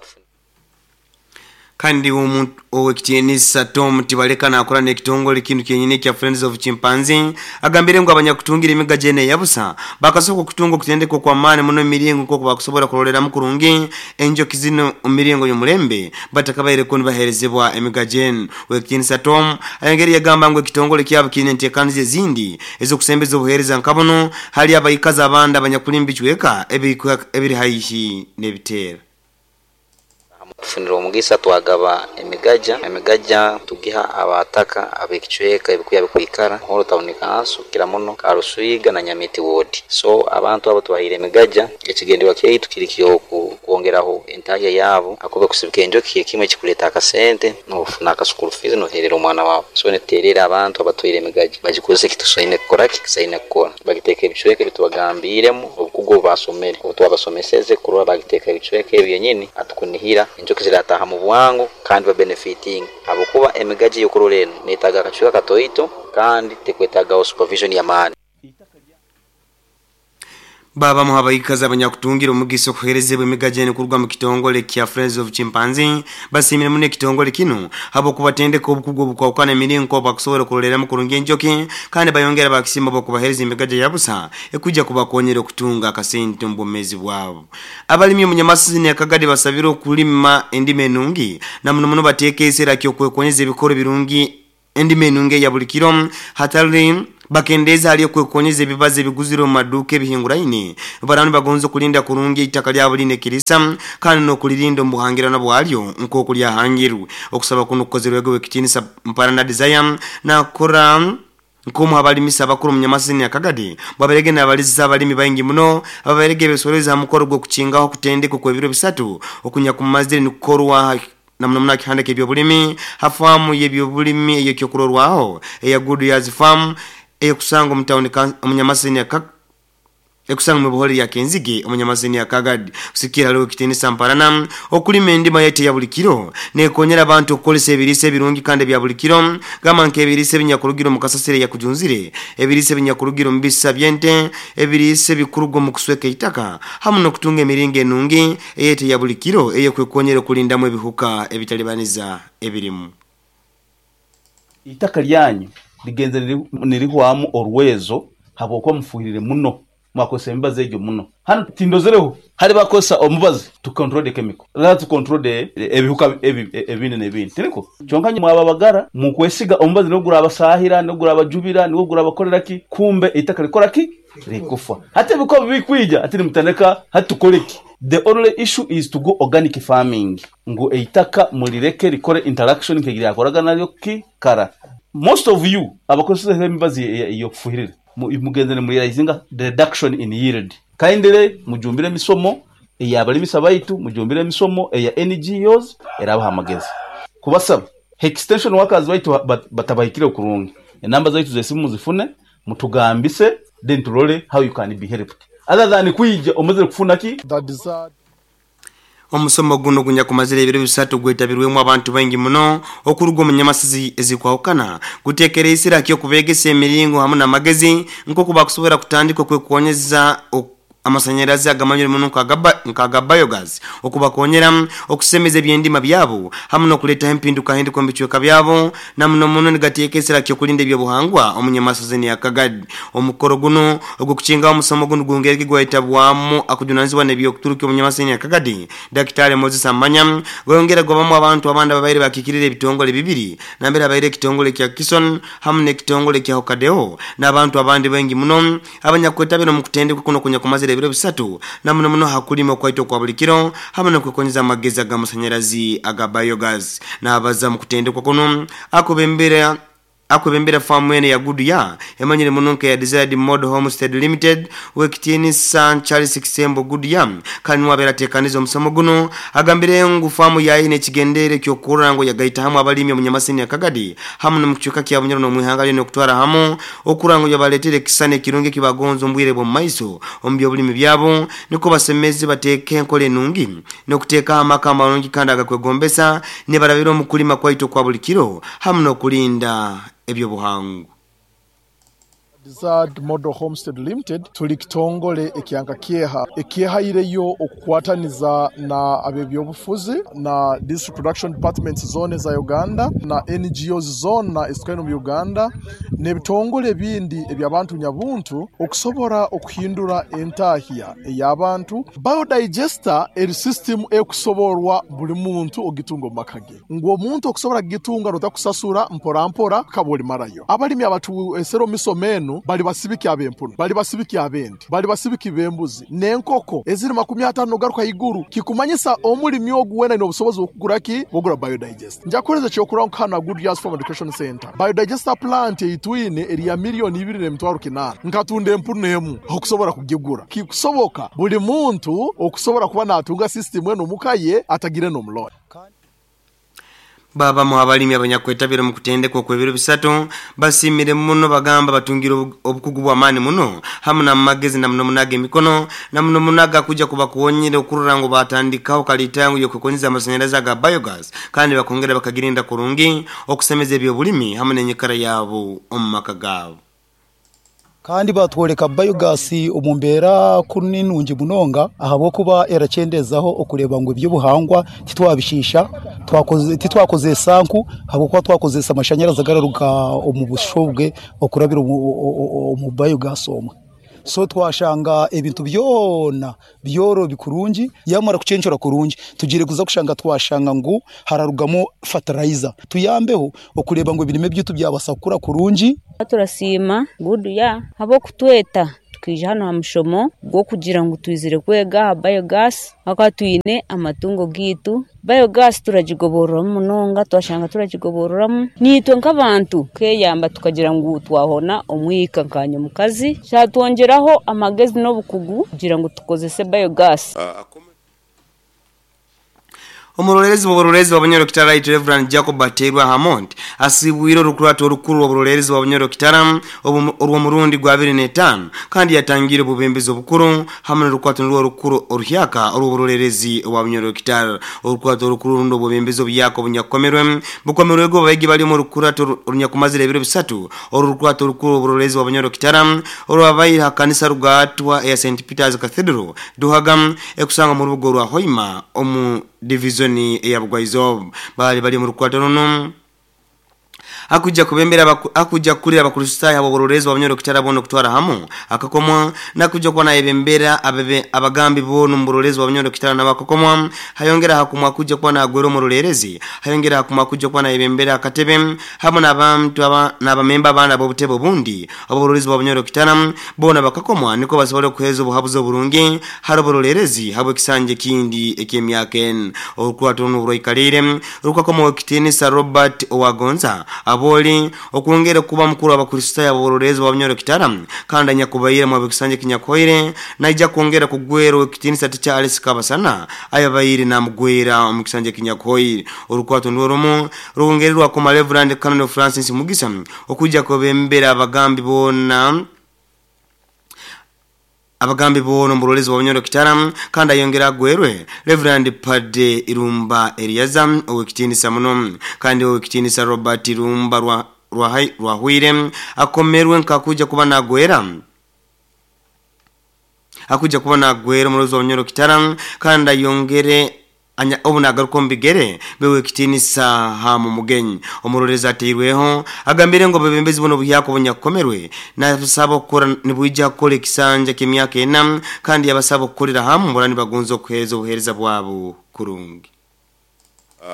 Kandi owekitiinisa Tom Tibaleka nakola n'ekitongole kintu kyenyini kya Friends of Chimpanzee agambire ngo abanyakutungira emigaje ene yabusa bakasooka okutunga okutendekwa kwa maani muno emiringo nk'oku bakusobola kuloleramu kurungi enjoki zino omumiringo y'omulembe batakabaireko nibaheerezebwa emigaje eno. Owekitiinisa Tom ayongere yagamba ngu ekitongole kyabo kiine enteekaniza ezindi ez'okusembeza obuheereza nka buno hali abayikazi abandi abanyakuli mu bicweka ebiri haihi n'ebiteera. Tufunira omugisa twagaba emigaja emigaja tugiha abataka abekicweka ebikuya bikwikara Muhoro town council kira muno Karuswiga na Nyamiti ward. So abantu abo twahire emigaja ekigenderwa kyaitu kiri kyo kuongeraho entahya yabo akobe kusibika enjoki ekimwe kikuleta akasente nofuna akasukuru fees noherera omwana wawe. So neterera abantu abatwire emigaja bagikozesa kitusaine kukora kisaine kukora bagiteka ebicweka bitubagambiremu obukugo basomere obutwabasomeseze kurora bagiteka ebicweka ebyenyini atukunihira enjoki zirataha mu bwangu kandi ba benefiting abokuba emigaji yokurora eno netaga akacweka katoito kandi tekwetagaho supervision ya maani. Baba muhabaikaza abanyakutungira omugisa okuherezebwa emigajeni kuruga mu kitongole kya Friends of Chimpanzee basimire muno ekitongole kino habwokubatendeka obukugu obukwawukana emiringo bakusobola kuroleramu kurungi enjoki kandi bayongera bakisima bokubahereza emigaja yabusa ekujja kubakonyera okutunga akasente mu bwomeezi bwabo. Abalimi omunyamasisi Akagadi basabire okulima endima enungi na muno muno bateeka eseera kyokwekonyeza ebikoro birungi endima enungi ya buli kiro hatali bakendeza hali kwekonyeza ebibazo ebiguzire mu maduka ebihinguraine barani bagonzo kulinda kurungi itaka lyabo line kirisa kandi no kulirinda omuhangirano bwalyo nko kulyahangirwe okusaba kuno kukozerwego wekitinisa Mparana Desire na kora nkomu abalimisa abakuru munyamasini Akagadi baberege n'abaliza abalimi baingi muno ababerege besoreza mukoro gwo kuchingaho kutendeka kwebiro bisatu okunya kumazire nikukorwa na mna kihandike ebyobulimi hafamu yebyobulimi eyo kyokurorwaho eya Good Years Farm ekusanga omutawuni omunyamasini aka ekusanga mu buholi ya Kenzige omunyamasini Akagadi kusikira leo kitinisa Mparana okulima endima yete ya buli kiro nekonyera abantu okukolesa ebirisa ebirungi kandi bya buli kiro gama nke ebirisa ebinyakurugiro mu kasasire ya kujunzire ebirisa ebinyakurugiro mu bisa byente ebirisa ebikurugo mu kusweka itaka hamu nokutunga emiringo enungi eyete ya buli kiro eye kwekonyera okulindamu ebihuka ebitalibaniza ebirimu. Itaka lyanyu ligenze nirihwamu orwezo habwokuba mufuhirire muno mwakosa emibazi egyo muno hano tindozereho hari bakosa omubazi to control the chemical la to control the ebihuka ebindi nebindi tiniko kyonka mwababagara mukwesiga omubazi nogura abasahira nogura abajubira nogura abakorera ki kumbe itaka likora ki likufa hata biko bikwija ati mutandeka hatukoleki. The only issue is to go organic farming ngo eitaka mulireke likore interaction nkegira yakoraga nayo ki kara. Most of you abakosa emibazi iyo kufuhirira mugendere muri realizinga the reduction in yield kaindire mujumbire misomo eyabalimisa baitu mujumbire misomo eya N G Os erabaha amagezi kubasaba extension workers baitu batabahikire kurungi enamba zaitu zesimu zifune mutugambise then tulole how you can be helped other than kuija omuzire kufuna ki. Omusomo guno gunya kumazira ebiro bisatu gwetabirwemu abantu baingi muno okuruga omunyamasizi ezikwawukana gutekera isira kyo kubegesa emiringo hamu n'amagezi nko bakusobora kutandika okwekonyeza amasanyalazi agamanyire muno nka biogas okubakonyera okusemeza ebyendima byabo hamu n'okuleta empinduka hinduka mu bicweka byabo na muno muno nigateekesera kyo kulinda ebyobuhangwa omunyamasozi ni Akagadi. Omukoro guno ogukuchinga omusomo guno gungereke gwayitabwamu akujunanizibwa n'ebyokuturuka omunyamasozi ni Akagadi Daktari Moses Amanya gwongera gwabamu abantu abandi ababaire bakikirira ebitongole bibiri nambere abaire ekitongole kya Kison hamu n'ekitongole kya Hokadeo n'abantu abandi bengi muno abanyakwetabira mu kutendekwa kuno kunya kumazira ebiro bisatu na muno muno hakulima kwaito kwa buli kiro hamwe n'okwekonyeza amagezi ag'amasanyalazi aga biogas n'abaza mu kutendekwa kuno akubembera akubembera famu ene ya Goodyear emanyire muno nke ya Desired Model Homestead Limited wekitini San Charles Kisembo Goodyear kandi wabera tekanizo omusomo guno agambire ngu famu yaine ekigendere kyokurora ngo yagaita hamwe abalimi omunyamasini Akagadi hamwe n'omukichuka kya Bunyoro n'omwihanga lyone okutwara hamwe okura ngo yabaletere kisane kirungi kibagonzo mbwire bwo maiso omu byobulimi byabo niko basemezi bateeke enkole nungi n'okuteeka amaka amalungi kandi agakwegombesa ne barabira omukulima kwaito kwa buli kiro hamwe n'okulinda ebyobuhangu. Desired Model Homestead Limited tuli kitongole ekyanka kieha ekiehaireyo okukwataniza na abebyobufuzi na District Production Departments zone za Uganda na N G Os zona ezitwine mu Uganda n'ebitongole ebindi ebyabantu nyabuntu okusobora okuhindura entahya ey'abantu. Biodigester eri system ekusoborwa buli muntu ogitunga mu maka ge ngu omuntu okusobora gitunga rotakusasura mpora mpora kaboli marayo. Abalimi abatu esero misomeno bali basibiki abempuno bali basibiki abendi bali basibiki bembuzi nenkoko eziri makumi atano garuka iguru kikumanyisa omulimi oguwena ino obusobozi okugura ki bogura biodigester. Njakoleza kyokura nkana Good Years Farm Education Center biodigester plant eitwine eri ya milioni ibiri n'emitwaro kinana nkatunde empuno emu okusobora kugigura kikusoboka buli muntu okusobora kuba natunga system eno mukaye atagire n'omuloni. Baba muhabalimi abanyakwetabira mu kutendekwa kwebiro bisatu basimire muno bagamba batungira obukugu bw'amaani muno hamwe n'amagezi na muno munaga emikono na muno munaga kuja kubakuwonyera okurora ngo batandikaho kalitangu yokwekonyeza amasanyalazi aga biogas kandi bakongera bakagirinda kurungi okusemeza ebyobulimi hamwe n'enyikara yabo omu maka gaabo. Kandi batworeka biogas omu mbeera kuni nungi munonga ahabw'okuba eracyendezaho okureba ngu ebyobuhangwa titwabishisha, twakoze titwakozesa nku ahabw'okuba twakozesa amashanyarazi agararuga omu bushobwe okurabira omu biogas omwe. So twashanga ebintu byona byorobi kurungi, yamara kucencera kurungi tugire kuza kushanga twashanga ngu hararugamu fertilizer tuyambeho okureba ngu ebirime byitu byabasa kukura kurungi. Turasiima Gudu ya habo kutweta tukija hano ha mushomo gwokugira ngu twizire kwega aha biogas akatwine amatungo gitu. Biogas turagigoborora munonga, twashanga turagigoborora nitwe nk'abantu keyamba tukagira ngu twahona omwika nkanya mukazi cyatwongeraho amagezi n'obukugu kugira ngu tukozese biogas. Omurorerezi w'oburorerezi wa Bunyoro Kitara Right Reverend Jacob Baterwa Hammond asibwire orukurato orukuru w'oburorerezi wa Bunyoro Kitara orw'omurundi gwa abiri n'etaano kandi yatangire obubembezi obukuru hamwe n'orukwato rw'orukuru oruhyaka orw'oburorerezi wa Bunyoro Kitara. Orukwato orukuru rundo obubembezi obuyaka obunyakomerwe bukomerwe go bayigi bali mu rukurato orunyakumazire ebiro bisatu. Orukwato orukuru w'oburorerezi wa Bunyoro Kitara orwabaire hakanisa rugatwa ya Saint Peter's Cathedral Duhagam ekusanga mu rubugo rwa Hoima omu divisioni ya Bugwaizo. Bali bali mu rukwata runo akuja kubembera akuja kulira abakristayo abo bororezi wa Bunyoro Kitara bono kutwara hamu akakomwa nakuja kuba nayebembera abebe abagambi bono mburorezi wa Bunyoro Kitara nabakokomwa hayongera hakumwa kuja kuba nagwero murorerezi hayongera hakumwa kuja kuba nayebembera akatebe hamwe n'abantu aba n'abamemba abana bo butebo bundi abo bororezi wa Bunyoro Kitara bona bakakomwa niko basobole kuheza obuhabuzo burungi haro bororerezi habwe kisanje kindi ekemyaka en orukwato n'uburoikalire rukakomo kitinisa Robert Owagonza aboli okwongera kuba mukuru abakristayo abororezi wa Bunyoro Kitara kandi anyakubayire mu bikisanje kinyakoire naija kwongera kugwero kitinisa ticha Alice Kabasana ayabayire namugwera mu kisanje kinyakoire. Orukwato ndoromo ruwongererwa ku Reverend Canon Francis Mugisa okuja kobembera abagambi bona abagambi bono mburolezi wa Bunyoro Kitara kandi ayongera agwerwe Reverend Pade Irumba Eliaza owekitinisa muno kandi owekitinisa Robert Irumba rwa rwahwire akomerwe nkakuja kuba nagwera akuja kuba nagwera murolezi wa Bunyoro Kitara kandi ayongere anya obunagaruko mbigere bewe kitinisa ha mu mugenyi. Omuroreza ateirweho agambire ngo bebembezi buno buhyako bunyakomerwe nasaba okukora nibwijja kukora ekisanja ky'emyaka ena kandi yabasaba okukorera hamwe burani bagunza okuhereza obuhereza bwabo kurungi.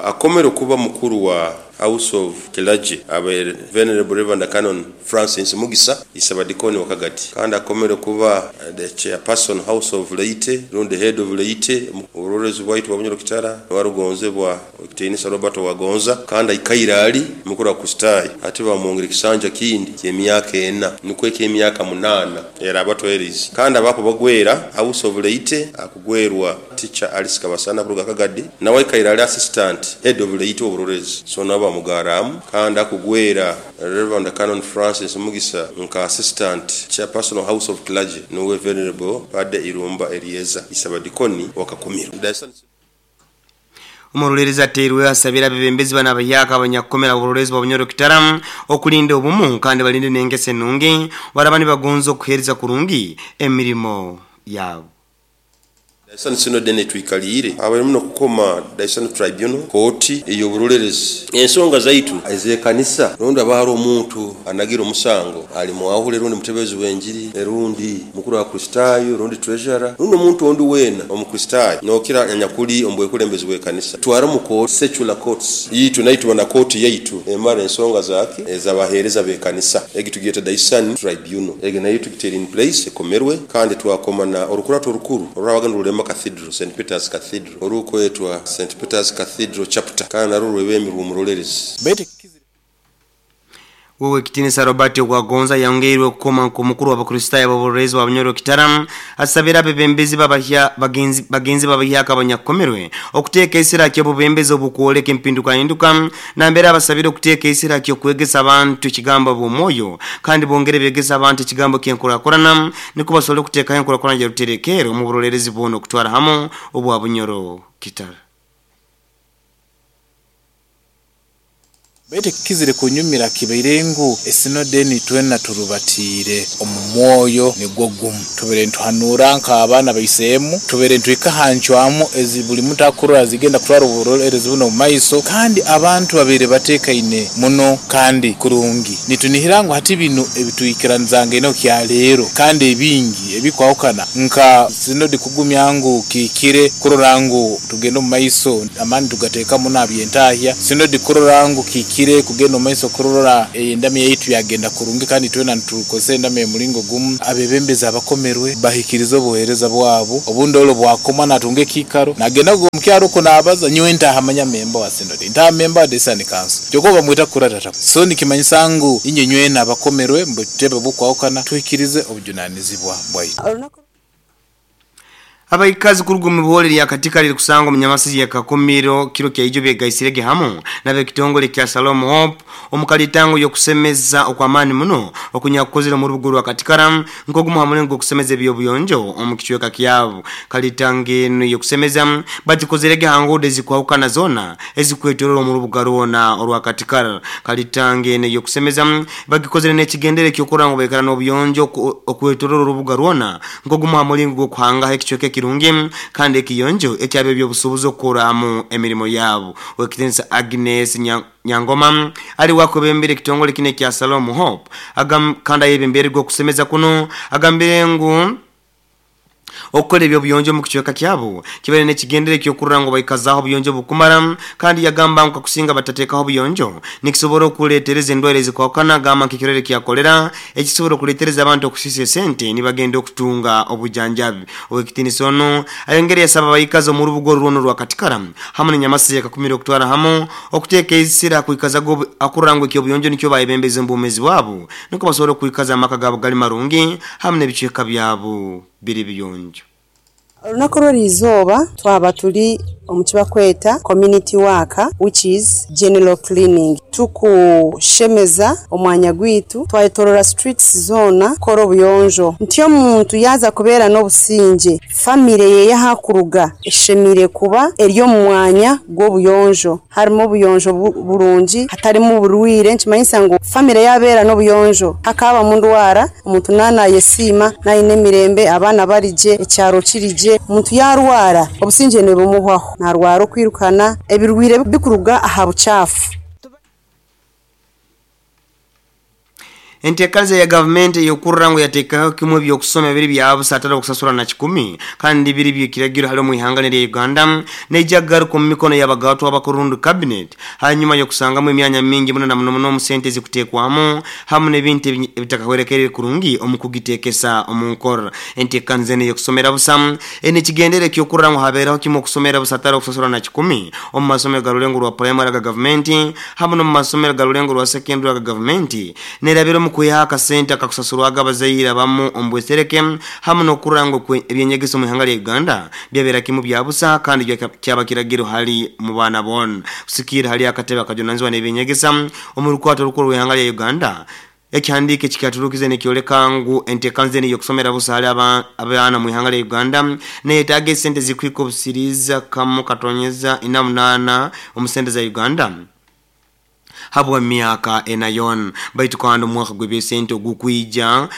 Akomero kuba mukuru wa House of Clergy abe Venerable Reverend Canon Francis Mugisa isabadikoni wakagati kandi akomero kuba the chairperson House of Laity rundi head of Laity urorezi bwaitu wa Bunyoro Kitara warugonzebwa kitinisa Robert Wagonza kandi ikairali mukuru wa Kustai ati bamwongera kisanja kindi ky'emyaka ena nukwo eky'emyaka munana era abatwerizi kandi abapo bagwera House of Laity akugwerwa teacher Alice Kabasana kuruga Kagadi nawe ikairali assistant head of Laity oburorezi so naba mugaramu kandi akugwera Reverend Canon Francis Mugisa nka assistant chairperson of House of Clergy nuwe Venerable Pade Irumba Elieza isabadikoni wakakumiro. Omurorerezi ateirwe asabira bebembezi bana abayaka abanyakukomera oburorezi bwa Bunyoro Kitara okulinda obumu kandi balinde n'engese nungi barabani bagonza okuhereza kurungi emirimo yabo. Daisan Synod netwikalire abali muno kukoma Daisan Tribunal kooti ey'oburolerezi ensonga zaitu ezekanisa rundi abahari omuntu anagira omusango ali muahule rundi mutebezi w'enjiri rundi mukuru wa Kristayo rundi treasurer rundi omuntu ondi wena omukristayo nokira anyakuli ombwekulembezi w'ekanisa twara mu court secular courts yitu naitwa na kooti yaitu emara ensonga zaki ezabahereza b'ekanisa egi tugiyeta Daisan Tribunal egi nayo tugitera in place ekomerwe kandi twakoma na orukurato orukuru orwabagana Cathedral Saint Peter's Cathedral orukwetwa Saint Peter's Cathedral chapter kana narwo rwebemirwa omurolerezi. Wewe kitinisa Robert Wagonza yongeirwe kukoma ku mukuru w'abakristayo b'oburorezi wa Bunyoro Kitara asabira abebembezi babahya bagenzi bagenzi babahyaka abanyakomerwe okuteeka esira ky'obubembezi obukwoleka empinduka hinduka nambere abasabira okuteeka esira ky'okwegesa abantu ekigambo bw'omwoyo kandi bongere begesa abantu ekigambo ky'enkurakurana niko basobole okuteekaho enkurakurana gya mu burorerezi bwono okutwara hamu obwa Bunyoro Kitara. Bete kizire kunyumira kibaire ngu esinode twena turubatiire omu mwoyo nigwo gumu tubere ntuhanura nk'abaana baiseemu tubere ntwikahancwamu ezi buli muntu akurora zigenda kutwara oburolerezi buno mu maiso kandi abantu babere batekaine muno kandi kurungi nitunihira ngu hati bino ebituikiranizanga eno kya leero kandi ebingi ebikwahukana nka sinodi kugumya ngu kikire kurora ngu tugenda omu maiso amani tugateeka muno abyentahya sinodi kurora ngu kikire kugenda omu maiso kurora endami yaitu yagenda kurungi kandi twena nitukozesa endami emulingo gumu abebembezi abakomerwe bahikiriza obuheereza bwabo obundi olwo bwakoma natunga ekikaro nagenda omukyaro uko nabaza nyowe ntahamanya memba wa sinodi ntaha memba wa desani kanso kyokka bamwita kuratata so nikimanyisa ngu inye nywena abakomerwe mbutebe bukwahukana tuhikirize obujunanizibwa bwaitu. Abaikazi kuruga mu buhore lya katika liri kusangwa munyamasizi ya Kakumiro kiro kya ijo byegaisirege hamu nabe kitongole kya Salom Hope omukalitango yokusemeza okwamani muno okunyakukozera mu rubugo rwa katikara nkogumu hamulengo okusemeza ebyobuyonjo omukichweka kyabo kalitange eno yokusemeza bagikozerege hangude zikwahukana zona ezikwetorola mu rubuga rwona orwa katikara kalitange eno yokusemeza bagikozere n'ekigendere kyokora ngo bekara n'obuyonjo okwetorola urubuga rwona nkogumu hamulengo okuhanga ekichweka kirungi kandi ekiyonjo ekyabe byobusubuzo okuramu emirimo yabo. Wekitensa Agnes Nyangoma ali wakobembere kitongole kine kya Salom Hope agam kanda yebembere go kusemeza kuno agambire ngu okukora ebyobuyonjo mu kichweka kyabo kibere n'ekigendere kyokurra ngo baikazaho obuyonjo bukumara kandi yagamba ngu kakusinga batatekaho obuyonjo nikisobora okuleetereza endwara ezikwahukana gamba nk'ekirwere kya kolera ekisobora okuleetereza abantu okusisa esente nibagenda okutunga obujanjabi. Owekitiinisa ono ayongere yasaba abaikazi omu rubuga orwono rwa Katikara hamwe n'enyamasizi ya Kakumiro okutwara hamu okuteeka esira kwikaza akurra ngu ekyobuyonjo nikyo bayebembeza omu bwabo niko basobora okwikaza amaka gabo gali marungi hamwe n'ebicweka byabo biri biyonjo. Olunaku lw'erizooba twaba tuli omu kibakweta community work which is general cleaning tukushemeza omwanya gwitu twayetorora streets zona kora obuyonjo nti omuntu yaza kubeera n'obusinge famire ye yahakuruga eshemire kuba eri omu mwanya gw'obuyonjo harimu obuyonjo burungi hatarimu oburwire nkimanyisa ngu famire yabeera n'obuyonjo hakaba mu ndwara omuntu nanayesiima nayine emirembe abaana barije ekyaro kirije omuntu yarwara obusinge nibumuhwaho narwara okwirukana ebirwire bikuruga aha buchafu. Enteekaza ya gavumenti yokurra ngu yateekaho kimwe byokusoma biri byabusa atari okusasura na kikumi kandi biri byekiragiro hali mu ihanga lya Uganda neija kugaruka mu mikono y'abagatwa abakurundu cabinet hanyuma yokusangamu emyanya mingi muno na muno muno mu sente zikuteekwamu hamwe n'ebintu ebitakahwerekerere kurungi omu kugitekesa omu nkora. Enteekaniza eno yokusomera busa ene kigendere kyokurra ngu habeeraho kimwe okusomera busa atari okusasura na kikumi omu masomero ga Rulengo rwa primary ga gavumenti hamwe n'omu masomero ga Rulengo rwa secondary ga gavumenti nerabira kwiha akasente akakusasurwaga abazaire abamu omu bwesereke hamwe n'okurora ngu ebyenyegeso mu ihanga lya Uganda byabeera kimu byabusa kandi kyaba kiragiro hali mu baana boona kusikira hali akatebe akajunanizibwa n'ebyenyegesa omu rukwato orukuru rw'ihanga lya Uganda. Ekihandiiko ekikyaturukize nikyoleka ngu enteekaniza eno y'okusomera busa hali abaana mu ihanga lya Uganda neyetaaga esente zikwika obusiriiza kamu katonyeza ina munaana omu sente za Uganda habwa miaka enayon baitu kandi omwaka gw'ebyesente ogukwija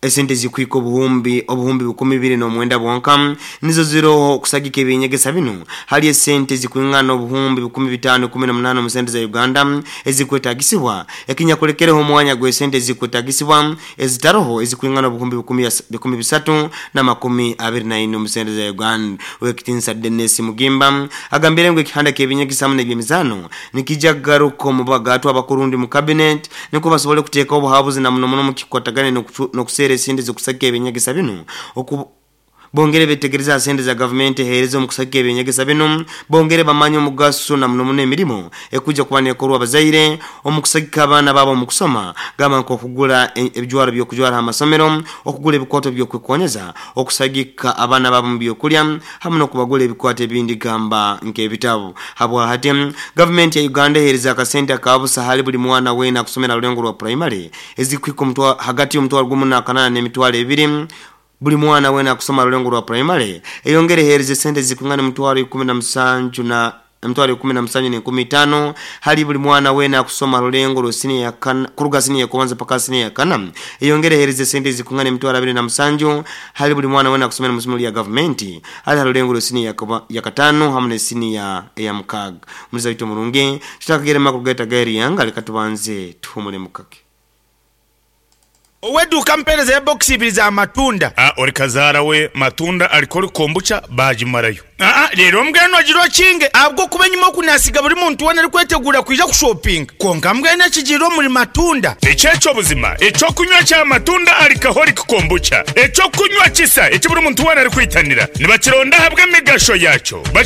esente zikwika obuhumbi obuhumbi bukumi bibiri n'omwenda bwonka nizo ziroho okusagika ebyenyegesa bino hali esente zikwingana obuhumbi bukumi bitaano kumi na munaana omu sente za Uganda ezikwetagisibwa ekinyakulekereho omwanya gw'esente ezikwetagisibwa ezitaroho ezikwingana obuhumbi bukumi bisatu na makumi abiri na ine omu sente za Uganda. Owekitinisa Dennis Mugimba agambire ngu ekihanda ky'ebyenyegesa hamwe n'ebyemizaano nikijja kugaruka omu bagatwa abakurundi mu cabinet niko basobole kuteeka obuhabuzi na muno muno mu kikwatagane n'okuseera esente zokusaka ebyenyegesa bino oku bongere betegereza sente za gavumenti eheereza omu kusaka ebyenyegesa bino bongere bamanye omugaso na muno muno emirimu ekuja kuba neekorwa abazaire omu kusagika abaana baabo omu kusoma gamba nk'okugula ebijwaro by'okujwara amasomero okugula ebikwato by'okwekonyeza okusagika abaana baabo mu byokulya hamwe n'okubagula ebikwato ebindi gamba nk'ebitabo. Habwa hati gavumenti ya Uganda eheereza akasente akabusa hali buli mwana weena akusomera rulengo rwa primary ezikwika omutwaro hagati y'omutwaro gumu n'akanaana n'emitwaro ebiri buli mwana wena akusoma rulengo rwa primary eyongere eheereza esente zikwingana emitwaro ikumi na musanju na emitwaro ikumi na musanju n'enkumi itaano hali buli mwana wena akusoma rulengo lwa ya kana kuruga siniya ya paka siniya ya kana. Eyongere ehereze sente zikungana emitwaro abiri na musanju hali buli mwana wena akusomera mu isomero lya gavumenti hali harulengo lwa siniya ya katano hamwe ne siniya ya mukaga. Muliza wito murungi tutakagere makuru gaita gairi yanga leka tubanze tuhumule mukake. Oweduka mpereza ya box ibiri za matunda. Ah, ori kazara we matunda alikori kombucha bajimarayo. Ah ah, rero mbweno agiro kinge abwo kuba nyuma kunasiga buri muntu wona ari kwetegura kwija kushopping. Konka mbwene kigiro muri matunda. Echecho buzima, echo kunywa cha matunda alikahori kombucha. Echo kunywa kisa, eki buri muntu wona ari kwitanira. Nibakironda habwe migasho yacho.